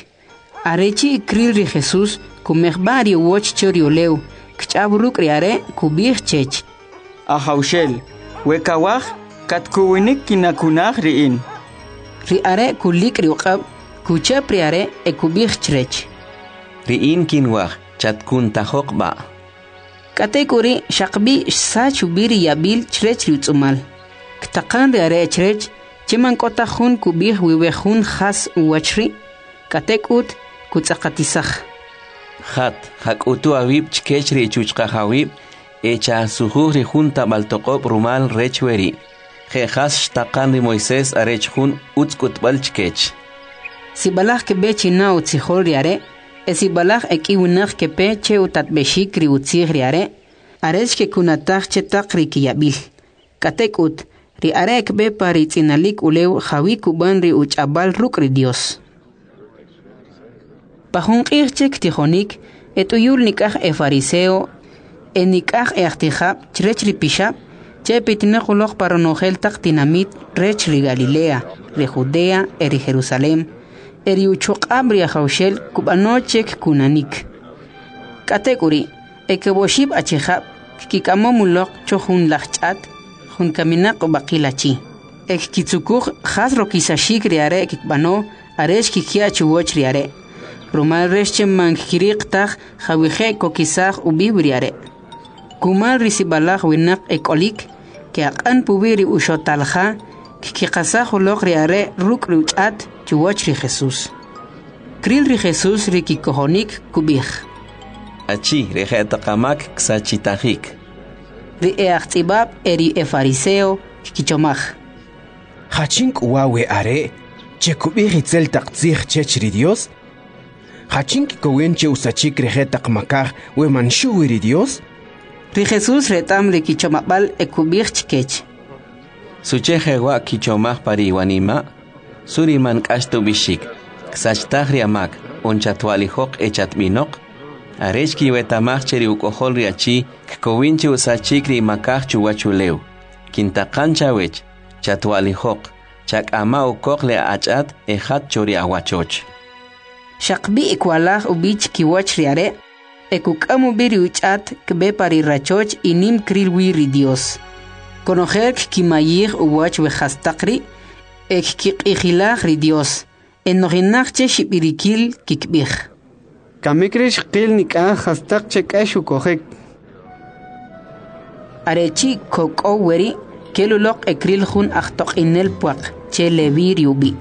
Arechi' kril ri Jesús, kumejb'a ri uwach cho ri ulew, kch'aw ruk' ri are', kub'ij chech: Ajawxel, we kawaj, katkuwinik kinakunaj ri in. Ri are' kulik' ri uq'ab', kuchap ri are' e kub'ij chrech: Ri in kinwaj, chatkuntajoq b'a'. K'atek'uri' xaqb'i xsach ub'i ri yab'il chrech ri utz'umal. Ktaqan ri are' chrech che man k'o ta jun kub'ij wi we jun jas uwach ri', k'atek'ut kutz'aqatisaj. Jat, jak'utu awib' chkech ri chuchqajawib' e chasujuj ri jun tab'al toq'ob' rumal rech weri'. Je' jas xtaqan ri Moisés arech jun utz k'utb'al chkech. Sib'alaj kb'e china utzijol ri are', e sib'alaj ek'i winaq kepe che utatb'exik ri utzij ri are', arech kekunataj che taq ri kiyab'il. K'atek'ut, ri are' kb'e pa ri tz'inalik ulew jawi kub'an ri uch'ab'al ruk' ri Dios. Pa jun q'ij che ktijonik, et'uyul nik'aj e fariseo e nik'aj e ajtijab' chrech ri pixab', che petinaq uloq pa ronojel taq tinamit rech ri Galilea, ri Judea e ri Jerusalem, e ri uchuq'ab' ri Ajawxel kub'ano che kkunanik. K'atek'uri', e keb' oxib' achijab' kkik'amom uloq cho jun laj ch'at, jun kaminaq ub'aqil achi. E kkitzukuj jas rokisaxik ri are' kikb'ano arech kikya' chuwach ri are', rumal rech che man kkiriq taj jawije' kokisaj ub'i ri are'. Kumal ri sib'alaj winaq ek'olik, ke'aq'an puwi' ri uxotal ja, kkiqasaj uloq ri are' ruk' ri uch'at chuwach ri Jesús. Kril ri Jesús ri kikojonik, kub'ij: Achi, ri je'taq amak ksachitajik. Ri e ajtz'ib'ab' e ri e fariseo kkichomaj: Jachin k'u wa' we are' che kub'ij itzel taq tzij chech ri Dios? Jachin kkowin che usachik ri je'taq makaj we man xuwi ri Dios? Ri Jesús reta'm ri kichomab'al e kub'ij chkech: Suche jewa' kichomaj pa ri iwanima'? Suri man k'ax ta ub'ixik, ksachtaj ri amak, on chatwa'lijoq e chatb'inoq? Arech kiweta'maj che ri uk'ojol ri achi kkowin che usachik ri makaj chuwach ulew. Kintaqan chawech, chatwa'lijoq, chak'ama ukoq le ach'at e jat cho ri awachoch. Xaqb'i kwalaj ub'i chkiwach ri are', e kuk'am ub'i ri uch'at kb'e pa ri rachoch y nim kril wi ri Dios. Konojel kkimayij uwach we jastaq ri' e kkiq'ijilaj ri Dios, e nojinaq che xib'irikil kikb'ij: Kamik ri' xqil nik'aj jastaq che k'ax ukojik. Arechi' kok'ow weri', kel uloq e kril jun ajtoq'inel pwaq che Levi ri ub'i',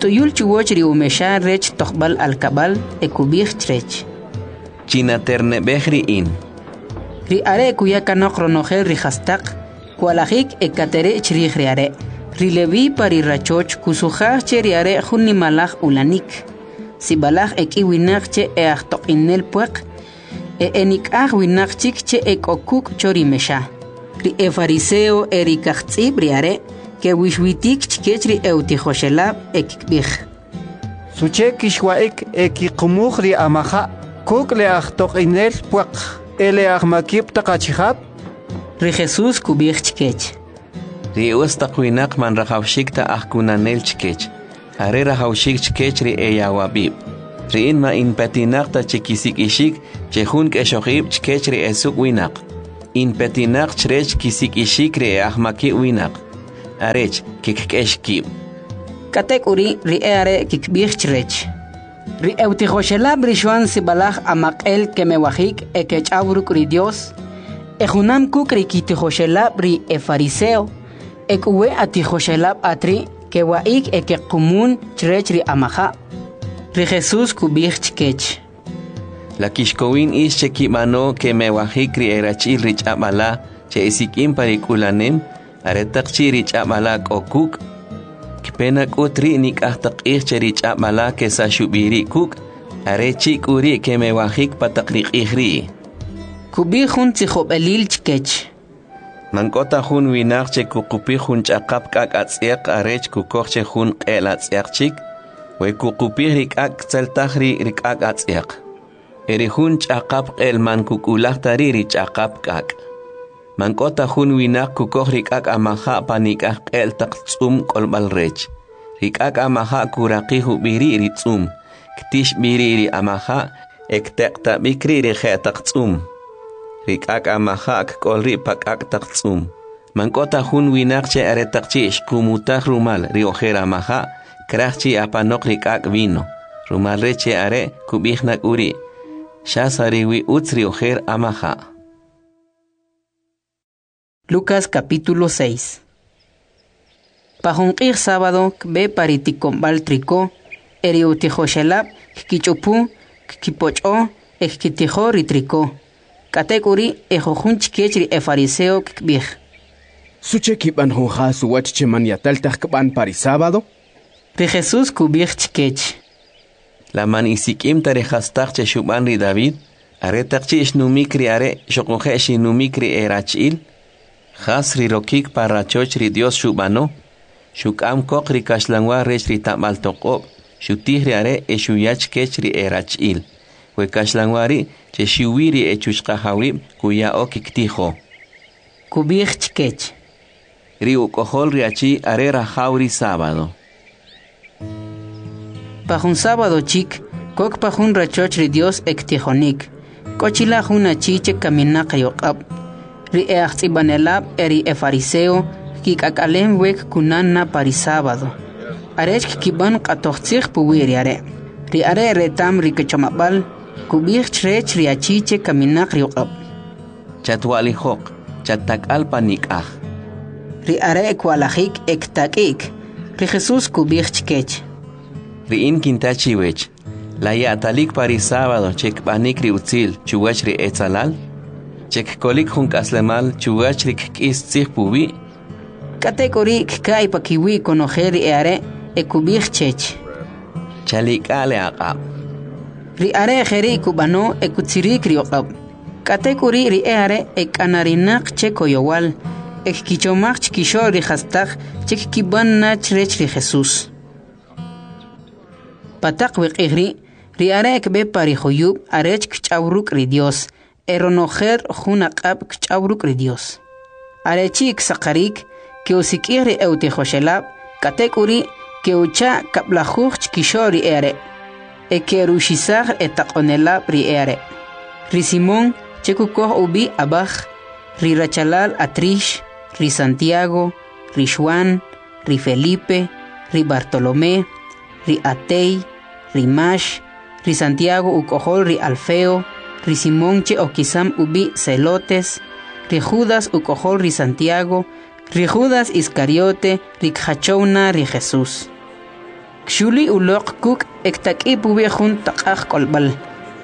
t'uyul chuwach ri umexa rech tojb'al alkab'al e kub'ij chrech: Chinaterneb'ej ri in. Ri are' kuya kanoq ronojel ri jastaq, kwalajik e katere' chrij ri are'. Ri Levi pa ri rachoch kusujaj che ri are' jun nimalaj ulanik. Sib'alaj ek'i winaq che e ajtoq'inel pwaq, e enik'aj winaq chik che ek'o kuk' cho ri mexa. Ri e fariseo e ri kajtz'ib' ri are' kewixwitik chkech ri eutijoxelab' e kikb'ij: Suche kixwa'ik e kiqumuj ri amaja' kuk' le ajtoq'inel pwaq e le ajmakib' taq achijab'? Ri Jesús kub'ij chkech: Ri utz taq winaq man rajawxik ta ajkunanel chkech, are rajawxik chkech ri eyawab'ib'. Ri in ma in petinaq ta che kisik'ixik che jun k'exoj ib' chkech ri esuk' winaq. In petinaq chrech kisik'ixik ri e'ajmakib' winaq, arech kkik'ex kib'. K'atek'uri' ri e'are' kkib'ij chrech: Ri e'utijoxelab' ri Xwan sib'alaj amaq'el kemewajik e kech'aw ruk' ri Dyos, e junam kuk' ri kitijoxelab' ri efariseo, e k'u we atijoxelab' at ri' kewa'ik e kequmun chrech ri amaja'. Ri Jesus kub'ij chkech: La kixkowin ix che kib'ano kemewajik ri erachi'l ri ch'ab' ala che esik'im pa ri k'ulanem, aretaq chi' ri ch'ab' ala k'o kuk'? Kpe na k'ut ri' nik'aj taq q'ij che ri ch'ab' ala kesax ub'i ri' kuk', are chi' k'u ri' kemewajik pa taq ri q'ij ri'. Kub'ij jun tzijob'elil chkech: Man k'o ta jun winaq che kuqupij jun ch'aqap k'ak' atz'yaq arech kukoj che jun q'e'l atz'yaq chik, we kuqupij ri k'ak' ktzeltaj ri' ri k'ak' atz'yaq. E ri jun ch'aqap q'e'l man kuk'ulaj ta ri' ri ch'aqap k'ak'. Man k'o ta jun winaq kukoj ri k'ak' amaja' pa nik'aj q'e'l taq tz'um k'olb'al rech. Ri k'ak' amaja' kuraqij ub'i ri' ri tz'um, ktix b'i ri' ri amaja' e kteq'tab'ik ri' ri je'taq tz'um. Ri k'ak' amaja' kk'ol ri' pa k'ak' taq tz'um. Man k'o ta jun winaq che aretaq chi' xqumutaj rumal ri ojer amaja' kraj chi apanoq ri k'ak' vino, rumal rech che are' kub'ij na k'uri', xas are wi utz ri ojer amaja'. Lucas capítulo seis. Pa jun q'ij sábado kb'e pa ri tiko'nb'al triko, e ri utijoxelab' kkich'upu, kkipoch'o e kkitijo ri triko. K'atek'uri' e jujun chkech ri efariseo kkib'ij: Suche kib'an jun jas uwach che man yatal taj kb'an pa ri sábado? Ri Jesús kub'ij chkech: La man isik'im ta ri jastaq che xub'an ri David, aretaq chi' xnumik ri are' xuquje' xinumik ri erachi'l? Jas ri rokik pa rachoch ri Dios xub'ano? Xuk'am koq ri kaxlanwa rech ri tab'al toq'ob', xutij ri are' e xuya chkech ri erachi'l. We kaxlanwa ri' che xuwi ri echuchqajawib' kuya'o kiktijo. Kub'ij chkech: Ri uk'ojol ri achi are rajaw ri sábado. Pa jun sábado chik, kok pa jun rachoch ri Dios e ktijonik. K'o chila' jun achi che kaminaq ri uq'ab'. Ri e'ajtz'ib'anelab' e ri efariseo kkik'ak'alem we kkunan na pa ri sábado, arech kkib'an q'atoj tzij puwi' ri are'. Ri are' reta'm ri kichomab'al, kub'ij chrech ri achi che kaminaq ri uq'ab': Chatwa'lijoq, chattak'al pa nik'aj. Ri are' kwa'lajik e ktak'i'k. Ri Jesús kub'ij chkech: Ri in kinta chiwech, la ya'talik pa ri sábado che kb'anik ri utzil chuwach ri etzalal? Che kkolik jun k'aslemal chuwach ri kk'is tzij puwi'? K'atek'uri' kka'y pakiwi' konojel ri e'are' e kub'ij chech: Chalik'a le aq'ab'. Ri are' jeri' kub'ano e kutzirik ri uq'ab'. K'atek'uri' ri e'are' ek'anarinaq che koyowal, e kkichomaj chkixo'l ri jastaq che kkib'an na chrech ri Jesús. Pa taq we q'ij ri', ri are' kb'e pa ri juyub' arech kch'aw ruk' ri Dios, e ronojel jun aq'ab' kch'aw ruk' ri Dios. Are chi' ksaqarik, ke'usik'ij ri e'utijoxelab', k'atek'uri' ke'ucha' kab'lajuj chkixo'l ri e'are', e ke'ruxisaj etaq'onelab' ri e'are'. Ri Simón, che kukoj ub'i' Abaj, ri rachalal Atrix, ri Santiago, ri Xuan, ri Felipe, ri Bartolomé, ri Atey, ri Max, ri Santiago uk'ojol ri Alfeo, ri Simón che okisam ub'i' Celotes, ri Judas uk'ojol ri Santiago, ri Judas Iscariote, ri kjachow na ri Jesús. Kxuli uloq kuk' e ktak'i puwi' jun taq'aj k'olb'al.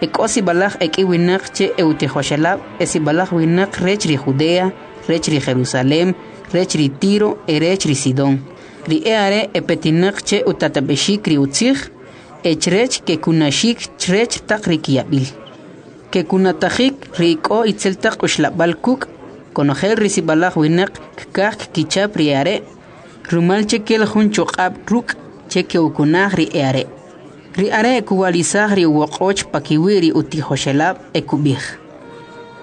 E k'o sib'alaj ek'i winaq che e'utijoxelab' e sib'alaj winaq rech ri Judea, rech ri Jerusalem, rech ri Tiro e rech ri Sidón. Ri e'are' epetinaq che utatab'exik ri utzij, e chrech kekunaxik chrech taq ri kiyab'il. Kekunatajik ri k'o itzel taq uxlab'al kuk', konojel ri sib'alaj winaq kkaj kkichap ri e'are', rumal che kel jun chuq'ab' ruk' che ke'ukunaj ri e'are'. Ri are' kuwa'lisaj ri uwoq'och pakiwi' ri utijoxelab' e kub'ij: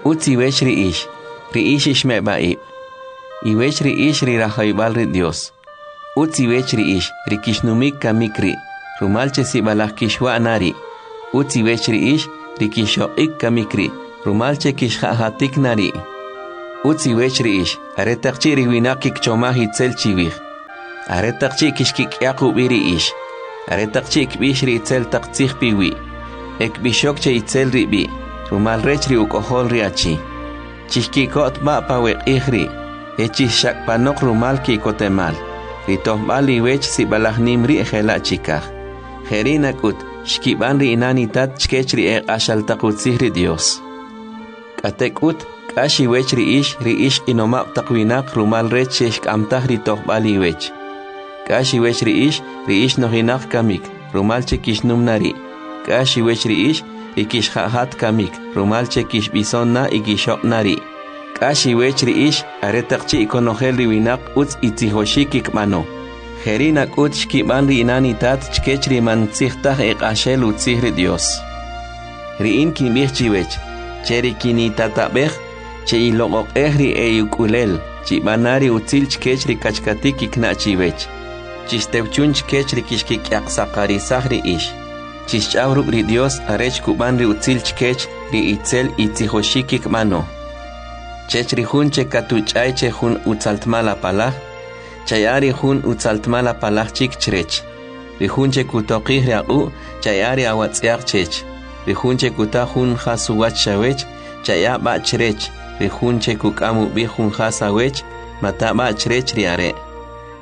Utz iwech ri ix, ri ix ixmeb'a'ib', iwech ri ix ri rajawib'al ri Dios. Utz iwech ri ix, ri kixnumik kamik ri', rumal che sib'alaj kixwa' na ri'. Utz iwech ri ix ri kixoq'ik kamik ri', rumal che kixja'jatik na ri'. Utz iwech ri ix, aretaq chi' ri winaq kikchomaj itzel chiwij, aretaq chi' kixkik'yaq ub'i ri ix, aretaq chi' kb'ix ri itzel taq tzij piwi', e kb'ixok che itzel ri b'i', rumal rech ri uk'ojol ri achi. Chixki'kot b'a' pa we q'ij ri', e chixxak'panoq rumal ki'kotemal, ri tojb'al iwech sib'alaj nim ri' jela' chikaj. Jeri' nak'ut, xkib'an ri inan itat chkech ri eq'axal taq utzij ri Dios. K'atek'ut, k'ax iwech ri ix, ri ix q'inomab' taq winaq rumal rech che xk'amtaj ri tojb'al iwech. K'ax iwech ri ix, ri ix nojinaq kamik, rumal che kixnum na ri'. K'ax iwech ri ix, ri kixja'jat kamik, rumal che kixb'ison na y kixoq' na ri'. K'ax iwech ri ix, aretaq chi' konojel ri winaq utz itzijoxik kikb'ano. Jeri' nak'ut xkib'an ri inan itat chkech ri man tzij taj eq'axel utzij ri Dios. Ri in kinb'ij chiwech, che ri kinitatab'ej, che iloq'oq'ej ri e'ik'ulel, chib'ana ri utzil chkech ri kachkatik kikna' chiwech. Chixtewchun chkech ri kixkik'yaqsaqarisaj ri ix. Chixch'aw ruk' ri Dios arech kub'an ri utzil chkech ri itzel itzijoxik kikb'ano. Chech ri jun che katuch'ay che jun utzaltmal apalaj, chaya ri jun utzaltmal apalaj chik chrech. Ri jun che kutoqij ri aq'u', chaya ri awatz'yaq chech. Ri jun che kuta jun jas uwach chawech, chaya b'a chrech. Ri jun che kuk'am ub'i jun jas awech, mata b'a chrech ri are'.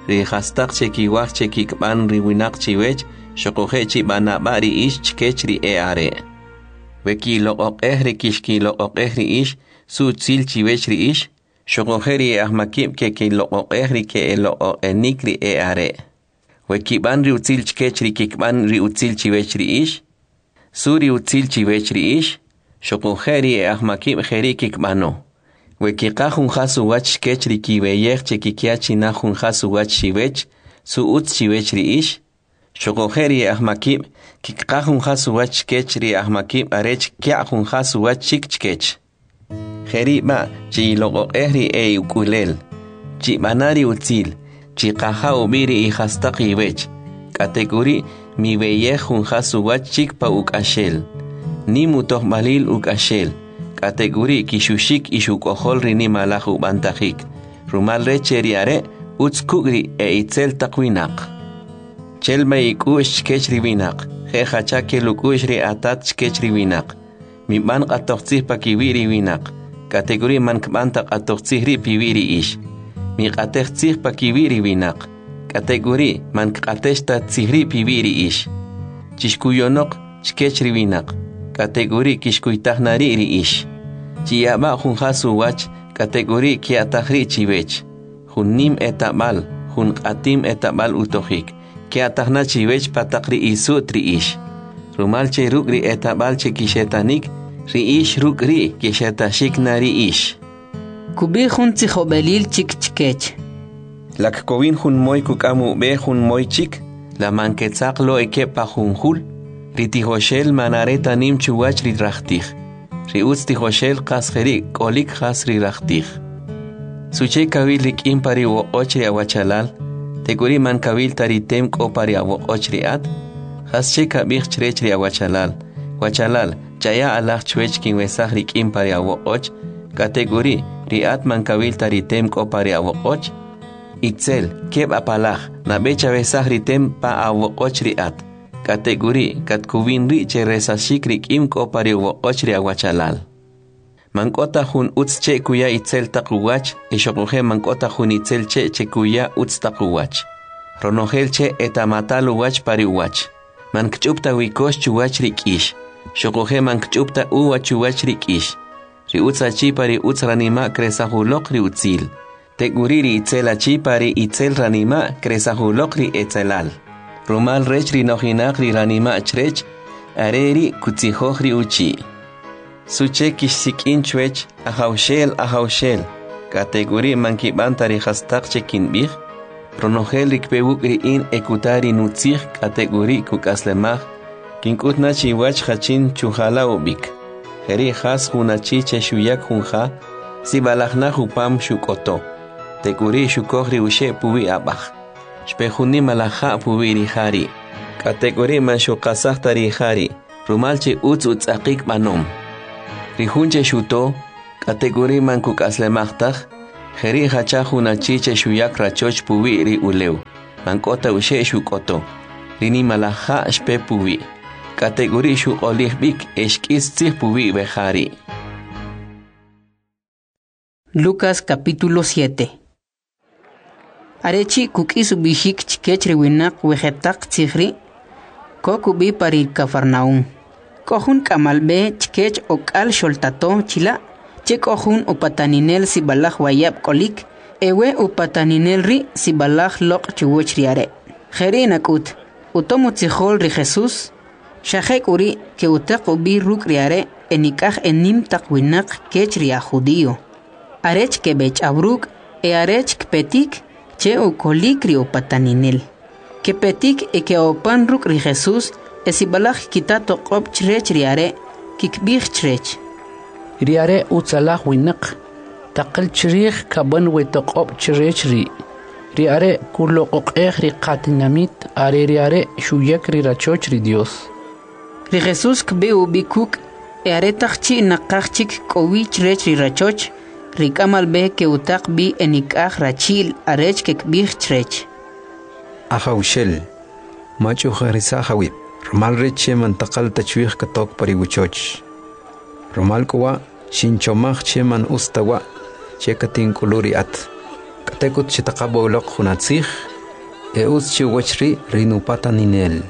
Ri jastaq che kiwaj che kikb'an ri winaq chiwech, xuquje' chib'ana b'a ri ix chkech ri e'are'. We kiloq'oq'ej ri kixkiloq'oq'ej ri ix, su utzil chiwech ri ix, xuquje' ri e'ajmakib' kekiloq'oq'ej ri ke'eloq'oq'enik ri e'are'. We kib'an ri utzil chkech ri kikb'an ri utzil chiwech ri ix, su ri utzil chiwech ri ix, xuquje' ri e'ajmakib' jeri' kikb'ano. We kiqaj jun jas uwach chkech ri kiweyej che kikya china jun jas uwach chiwech, su utz chiwech ri ix, xuquje' ri e'ajmakib' kikqaj jun jas uwach chkech ri e'ajmakib' arech kya' jun jas uwach chik chkech. Jeri' b'a' chiloq'oq'ej ri e'ik'ulel, chib'ana ri utzil, chiqaja ub'i ri ijastaq iwech, k'atek'uri' miweyej jun jas uwach chik pa uk'axel. Nim utojb'alil uk'axel, k'atek'uri' kixuxik ix uk'ojol ri nimalaj ub'antajik, rumal rech che ri are' utz kuk' ri e'itzel taq winaq. Chelma ik'u'x chkech ri winaq, je' jacha kel uk'u'x ri atat chkech ri winaq. Mib'an q'atoj tzij pakiwi' ri winaq, k'atek'uri' man kb'an ta q'atoj tzij ri' piwi' ri ix. Miq'atej tzij pakiwi' ri winaq, k'atek'uri' man kq'atex ta tzij ri' piwi' ri ix. Chixkuyonoq chkech ri winaq, k'atek'uri' kixkuytaj na ri' ri ix. Chiyab'a jun jas uwach, k'atek'uri' kya'taj ri' chiwech. Jun nim etab'al, jun q'atim etab'al utojik, kya'taj na chiwech pa taq ri isu't ri ix. Rumal che ruk' ri etab'al che kixetanik, ri ix ruk' ri' kixetaxik na ri ix. Kub'ij jun tzijob'elil chik chkech. La kkowin jun moy kuk'am ub'e jun moy chik, la man ketzaq lo ekeb' pa jun jul, ri tijoxel man are ta nim chuwach ri rajtij. Ri utz tijoxel qas jeri' k'olik jas ri rajtij. Suche kawil ri k'im pa ri woq'och ri awachalal, tek'uri' man kawil ta ri tem k'o pa ri awoq'och ri at? Jas che kab'ij chrech ri awachalal, wachalal, chaya alaj chwech kinwesaj ri k'im pa ri awoq'och, k'atek'uri' ri at man kawil ta ri tem k'o pa ri awoq'och? Itzel, keb' apalaj, nab'e chawesaj ri tem pa awoq'och ri at, k'atek'uri' katkuwin ri' che resaxik ri k'im k'o pa ri woq'och ri awachalal. Man k'o ta jun utz che' kuya itzel taq uwach, e xuquje' man k'o ta jun itzel che' che kuya utz taq uwach. Ronojel che' eta'matal uwach pa ri uwach. Man kch'up ta wikox chuwach ri k'ix, xuquje' man kch'up ta uva chuwach ri k'ix. Ri utz achi pa ri utz ranima' kresaj uloq ri utzil. Tek'uri' ri itzel achi pa ri itzel ranima' kresaj uloq ri etzelal. Rumal rech ri nojinaq ri ranima' chrech, are ri' kutzijoj ri uchi'. Suche kixsik'in chwech, Ajawxel, Ajawxel, k'atek'uri' man kib'an ta ri jastaq che kinb'ij? Ronojel ri kpe wuk' ri in e kuta ri nutzij k'atek'uri' kuk'aslemaj, kink'ut na chiwach jachin chujala ub'ik. Jeri' jas jun achi che xuyak jun ja, sib'alaj naj upam xuk'oto. Tek'uri' xukoj ri uxe' puwi' ab'aj. Xpe jun nimalaj ja' puwi' ri ja ri'. K'atek'uri' man xuqasaj ta ri ja ri', rumal che utz utz'aqik b'anom. Ri jun che xuto, k'atek'uri' man kuk'aslemaj taj, jeri' jacha jun achi che xuyak rachoch puwi' ri ulew, man k'o ta uxe' xuk'oto. Ri nimalaj ja' xpe puwi', k'atek'uri' xuq'olij b'ik e xk'is tzij puwi' we ja ri'. Lucas capítulo siete. Arechi kuk'is ub'ixik chkech ri winaq we jetaq tzij ri', kok ub'i pa ri Cafarnaúm. K'o jun k'amal b'e chkech ok'al xoltato chila', che k'o jun upataninel sib'alaj wayab' k'olik, e we upataninel ri' sib'alaj loq' chuwach ri are'. Jeri' nak'ut, utom utzijol ri Jesús, xa jek'uri' ke'utaq ub'i ruk' ri are' e nik'aj enim taq winaq kech ri aj judío. Arech keb'ech'aw ruk' e arech kpetik che ukolik ri upataninel. Kepetik e ke'opan ruk' ri Jesús e sib'alaj kita toq'ob' chrech ri are', kikb'ij chrech. Ri are' utzalaj winaq, taqal chrij kab'an we toq'ob' chrech ri'. Ri are' kuloq'oq'ej ri qatinamit, are ri are' xuyak ri rachoch ri Dios. Ri Jesús kb'e ub'i kuk' e aretaq chi' naqaj chik k'o wi chrech ri rachoch, ri k'amal b'e ke'utaq b'i e nik'aj rachi'l arech kekb'ij chrech. Ajawxel, mach'ujarisaj awib', rumal rech che man taqal ta chwij katok pa ri wachoch. Rumal k'u wa' xinchomaj che man utz ta wa' che katink'ulu ri at. K'atek'ut chitaqab' uloq jun atzij, e utz chi uwach ri' ri nupataninel.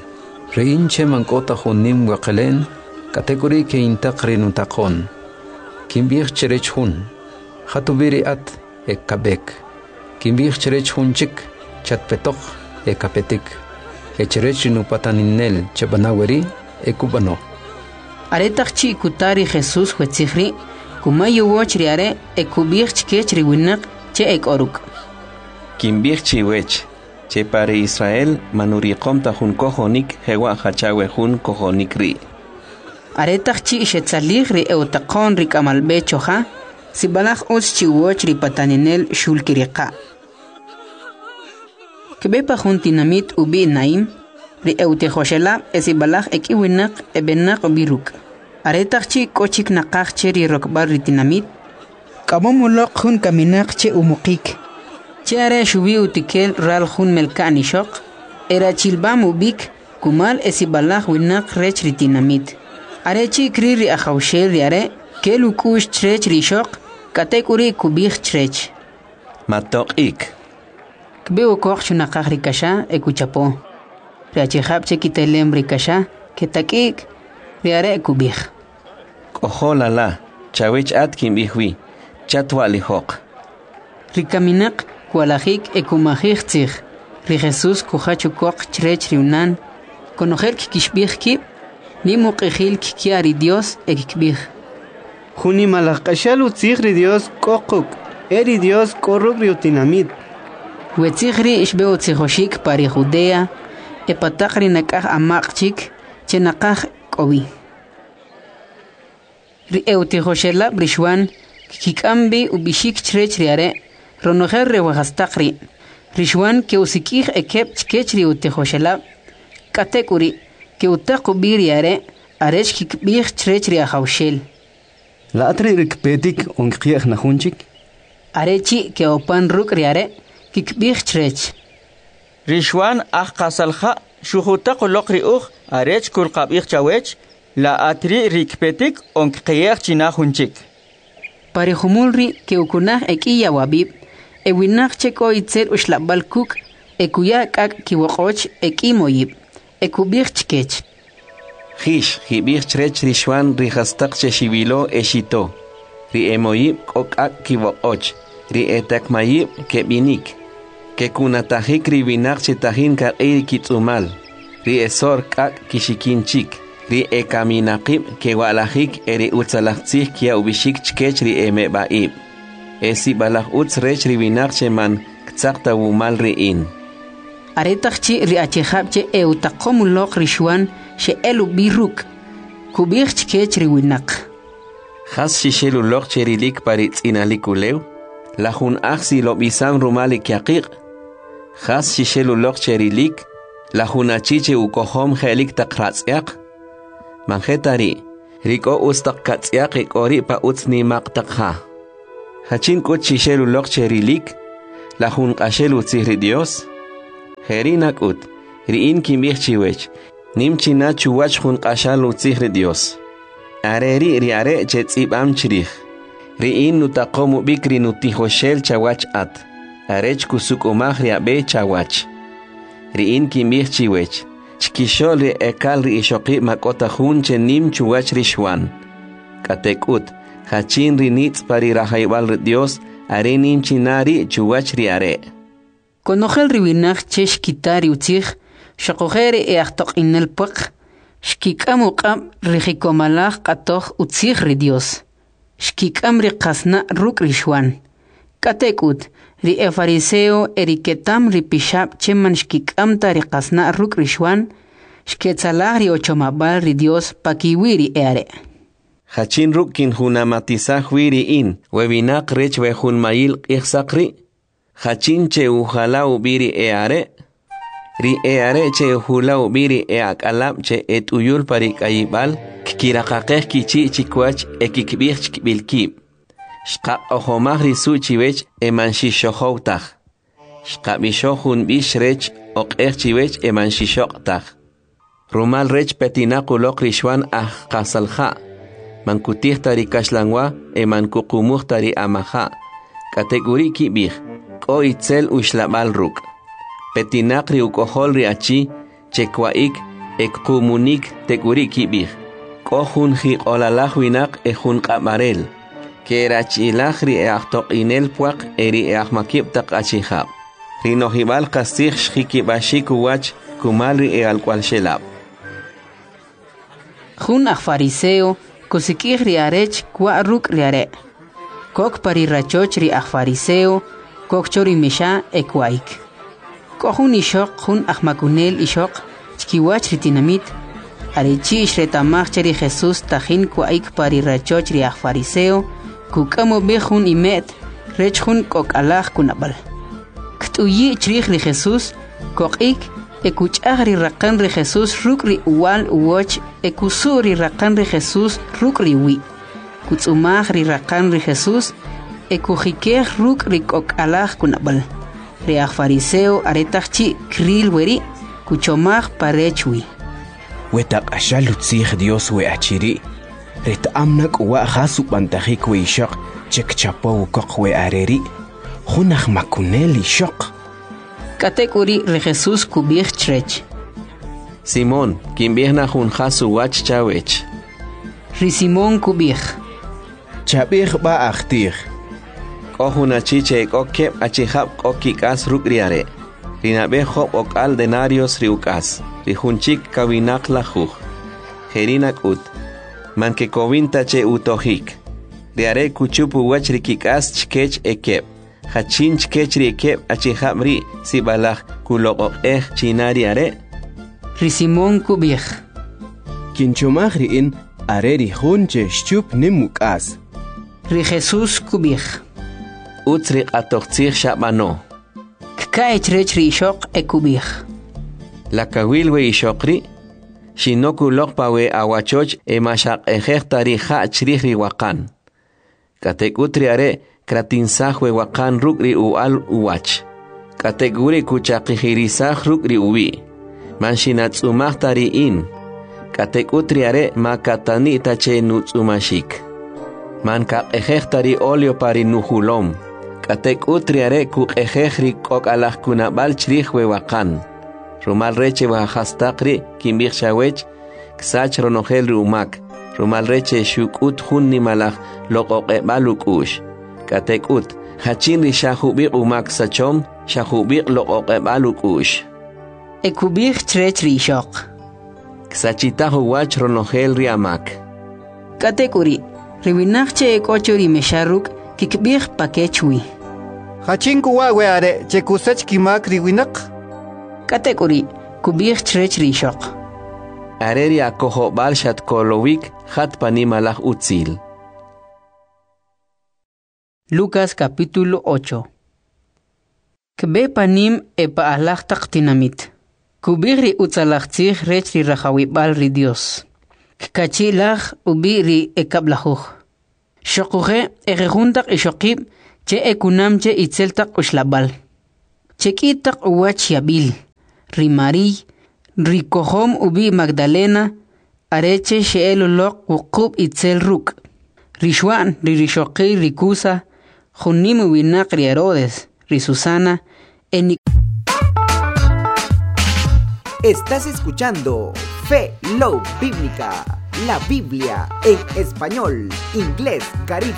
Ri in che man k'o ta jun nim weqele'n, k'atek'uri' ke'intaq ri nutaqo'n. Kinb'ij chrech jun, jat ub'i ri at e kab'ek. Kinb'ij chrech jun chik, chatpetoq e kapetik. E chrech ri nupataninel chab'ana weri' e kub'ano. Aretaq chi' kuta ri Jesús we tzij ri', kumay uwach ri are' e kub'ij chkech ri winaq che e k'o ruk'. Kinb'ij chiwech, che pa ri Israel man uriqom ta jun kojonik jewa' jacha we jun kojonik ri'. Aretaq chi' xetzalij ri e'utaqo'n ri k'amal b'e choja, sib'alaj utz chi uwach ri pataninel xulkiriqa'. Kb'e pa jun tinamit ub'i' Naim, ri e'utijoxelab' e sib'alaj ek'i winaq eb'enaq ub'i ruk'. Aretaq chi' k'o chik naqaj che ri rokb'al ri tinamit, k'amom uloq jun kaminaq che umuqik. Che are xuwi utikel ral jun melka'n ixoq, e rachilb'am ub'ik kumal e sib'alaj winaq rech ri tinamit. Are chi' kril ri Ajawxel ri are', kel uk'u'x chrech ri ixoq, k'atek'uri' kub'ij chrech. Matoq'ik. Kb'e ukoq chunaqaj ri kaxa e kuchapo. Ri achijab' che kitelem ri kaxa ketak'i'k, ri are' kub'ij. K'ojol ala, chawech at kinb'ij wi, chatwa'lijoq. Ri kaminaq kwalajik e kumajij tzij. Ri Jesús kujach ukoq chrech ri unan. Konojel kkixb'ij kib', nim uq'ijil kkiya ri Dios e kkib'ij. Jun nimalaj q'axal utzij ri Dios k'o quk', e ri Dios k'o ruk' ri utinamit. We tzij ri' xb'e utzijoxik pa ri Judea, e pa taq ri nak'aj amaq' chik che naqaj k'o wi. Ri e'utijoxelab' ri Xuan kkik'am b'i ub'ixik chrech ri are' ronojel ri wajastaq ri'. Ri Xuan ke'usik'ij ekeb' chkech ri utijoxelab', k'atek'uri' ke'utaq ub'i ri are' arech kikb'ij chrech ri Ajawxel. La at ri' ri kpetik on kqi'ej na jun chik? Are chi' ke'opan ruk' ri are' kikb'ij chrech. Ri Xuan aj qasalja' xujutaq uloq ri uj arech kulqab'ij chawech, la at ri' ri kpetik on kqi'ej china jun chik. Pa ri jumul ri' ke'ukunaj ek'i yawab'ib', e winaq che k'o itzel uxlab'al kuk' e kuya k'ak' kiwoq'och ek'i moyib', e kub'ij chkech. Jix, jib'ij chrech ri Xuan ri jastaq che xiwilo e xito. Ri emoyib' k'o k'ak' kiwoq'och, ri etakmayib' keb'inik. Kekunatajik ri winaq che tajin kaq'i ri kitz'umal, ri esor k'ak' kixikin chik, ri ekaminaqib' kewa'lajik e ri utzalaj tzij kya ub'ixik chkech ri emeb'a'ib'. E sib'alaj utz rech ri winaq che man ktzaq ta wumal ri in. Aretaq chi' ri achijab' che e'utaqom uloq ri Xuan xe'el ub'i ruk', kub'ij chkech ri winaq. Jas xixel uloq che rilik pa ri tz'inalik ulew? La jun aj silob'isam rumal ri kyaqiq'? Jas xixel uloq che rilik? La jun achi che ukojom je'lik taq ratz'yaq? Man je ta ri', ri k'o utz taq katz'yaq e k'o ri' pa utz nima'q taq ja. Jachin k'ut xixel uloq che rilik? La jun q'axel utzij ri Dios? Jeri' nak'ut, ri in kinb'ij chiwech, nim china chuwach jun q'axal utzij ri Dios. Are ri' ri are' che tz'ib'am chrij. Ri in nutaqom ub'ik ri nutijoxel chawach at, arech kusuk'umaj ri ab'e chawach. Ri in kinb'ij chiwech, chkixo'l ri ekal ri ixoqib' ma k'o ta jun che nim chuwach ri Xwan. K'atek'ut, jachin ri nitz' pa ri rajayb'al ri Dios, are nim china ri' chuwach ri are'. Konojel ri winaq che xkita ri utzij, xoquje' ri e'ajtoq'inel pwaq, xkik'am uq'ab' ri jikomalaj q'atoj utzij ri Dios. Xkik'am ri qasna' ruk' ri Xwan. K'atek'ut, ri efariseo e ri ketam ri pixab' che man xkik'am ta ri qasna' ruk' ri Xwan, xketzalaj ri uchomab'al ri Dios pakiwi' ri e'are'. Jachin ruk' kinjunamatisaj wi ri in, we winaq rech we jun mayil q'ijsaq ri'? Jachin che ujala ub'i ri e'are'? Ri e'are' che ujula ub'i ri e'ak'alab' che et'uyul pa ri k'ayib'al, kkiraqaqej kichi' chikwach e kikb'ij chkib'il kib'. Xqaq'ojomaj ri su' chiwech e man xixxojow taj. Xqab'ixoj jun b'ix rech oq'ej chiwech e man xixoq' taj. Rumal rech petinaq uloq ri Xwan aj qasalja', man kutij ta ri kaxlanwa e man kuqumuj ta ri amaja'. K'atek'uri' kib'ij, k'o itzel uxlab'al ruk'. Petinaq ri uk'ojol ri achi, che kwa'ik e kqumunik tek'uri' kib'ij, k'o jun jiq'olalaj winaq e jun q'ab'arel, ke'rachilaj ri e'ajtoq'inel pwaq e ri e'ajmakib' taq achijab'. Ri nojib'al qastzij xjikib'axik uwach kumal ri e'alk'wa'lxelab'. Jun aj fariseo kusik'ij ri arech kwa' ruk' ri are'. Kok pa ri rachoch ri aj fariseo, kok cho ri mexa e kwa'ik. K'o jun ixoq jun ajmakunel ixoq chkiwach ri tinamit, arechi' xreta'maj che ri Jesús tajin kwa'ik pa ri rachoch ri aj fariseo, kuk'am ub'i jun ime't rech jun k'ok'alaj kunab'al. Kt'uyi' chrij ri Jesús, koq'ik e kuch'aj ri raqan ri Jesús ruk' ri uwal uwach e kusu' ri raqan ri Jesús ruk' ri uwi'. Kutz'umaj ri raqan ri Jesús e kujikej ruk' ri k'ok'alaj kunab'al. Ri aj fariseo aretaq chi' kril weri' kuchomaj parech wi. We taq'axal utzij Dios we achi ri', reta'am na k'uwa' jas ub'antajik we ixoq che kchapow ukoq we are ri', jun ajmakunel ixoq. K'atek'uri' ri Jesús kub'ij chrech: Simón, kinb'ij na jun jas uwach chawech. Ri Simón kub'ij: Chab'ij b'a ajtij. K'o jun achi che k'o keb' achijab' k'o kik'as ruk' ri are'. Ri nab'e job' ok'al denarios ri uk'as, ri jun chik kawinaq lajuj. Jeri' nak'ut, man kekowin ta che utojik. Ri are' kuchup uwach ri kik'as chkech e keb'. Jachin chkech ri keb' achijab' ri' sib'alaj kuloq'oq'ej china ri are'? Ri Simón kub'ij: Kinchomaj ri in are ri jun che xchup nim uk'as. Ri Jesús kub'ij: Utz ri q'atoj tzij xab'ano. Kka'y chrech ri ixoq e kub'ij: La kawil we ixoq ri'? Xinok uloq pa we awachoch e ma xaq'ejej ta ri ja' chrij ri waqan. K'atek'ut ri are' kratinsaj we waqan ruk' ri uwa'l uwach. K'atek'uri' kuchaqijirisaj ruk' ri uwi'. Man xinatz'umaj ta ri in. K'atek'ut ri are' ma katani' ta che nutz'umaxik. Man kaq'ejej ta ri oleo pa ri nujulom. K'atek'ut ri are' kuq'ejej ri k'ok'alaj kunab'al chrij we waqan. Rumal rech we jastaq ri' kinb'ij chawech, ksach ronojel ri umak, rumal rech xuk'ut jun nimalaj loq'oq'eb'al uk'u'x. K'atek'ut, jachin ri xa jub'iq' umak sachom, xa jub'iq' loq'oq'eb'al uk'u'x. E kub'ij chrech ri ixoq: Ksachitaj uwach ronojel ri amak. K'atek'uri', ri winaq che e k'o cho ri mexa ruk' kikb'ij pakech wi: Jachin k'uwa' we are' che kusach kimak ri winaq? K'atek'uri' kub'ij chrech ri ixoq: Are ri akojob'al xatkolowik, jat pa nimalaj utzil. Lucas capítulo ocho. Kb'e panim e pa'alaj taq tinamit. Kub'ij ri utzalaj tzij rech ri rajawib'al ri Dios. Kkachi'laj ub'i ri ekab'lajuj. Xoquje' ejujun taq ixoqib' che ekunam che itzel taq uxlab'al, che k'i taq uwach yab'il: ri Mari'y, ri kojom ub'i' Magdalena, are che xe'el uloq wuqub' itzel ruk'; ri Xwa'n ri rixoqil ri Cuza, jun nim uwinaq ri Herodes; ri Susana, e Estás escuchando Fe Love Bíblica, la Biblia en español, inglés, garífuna.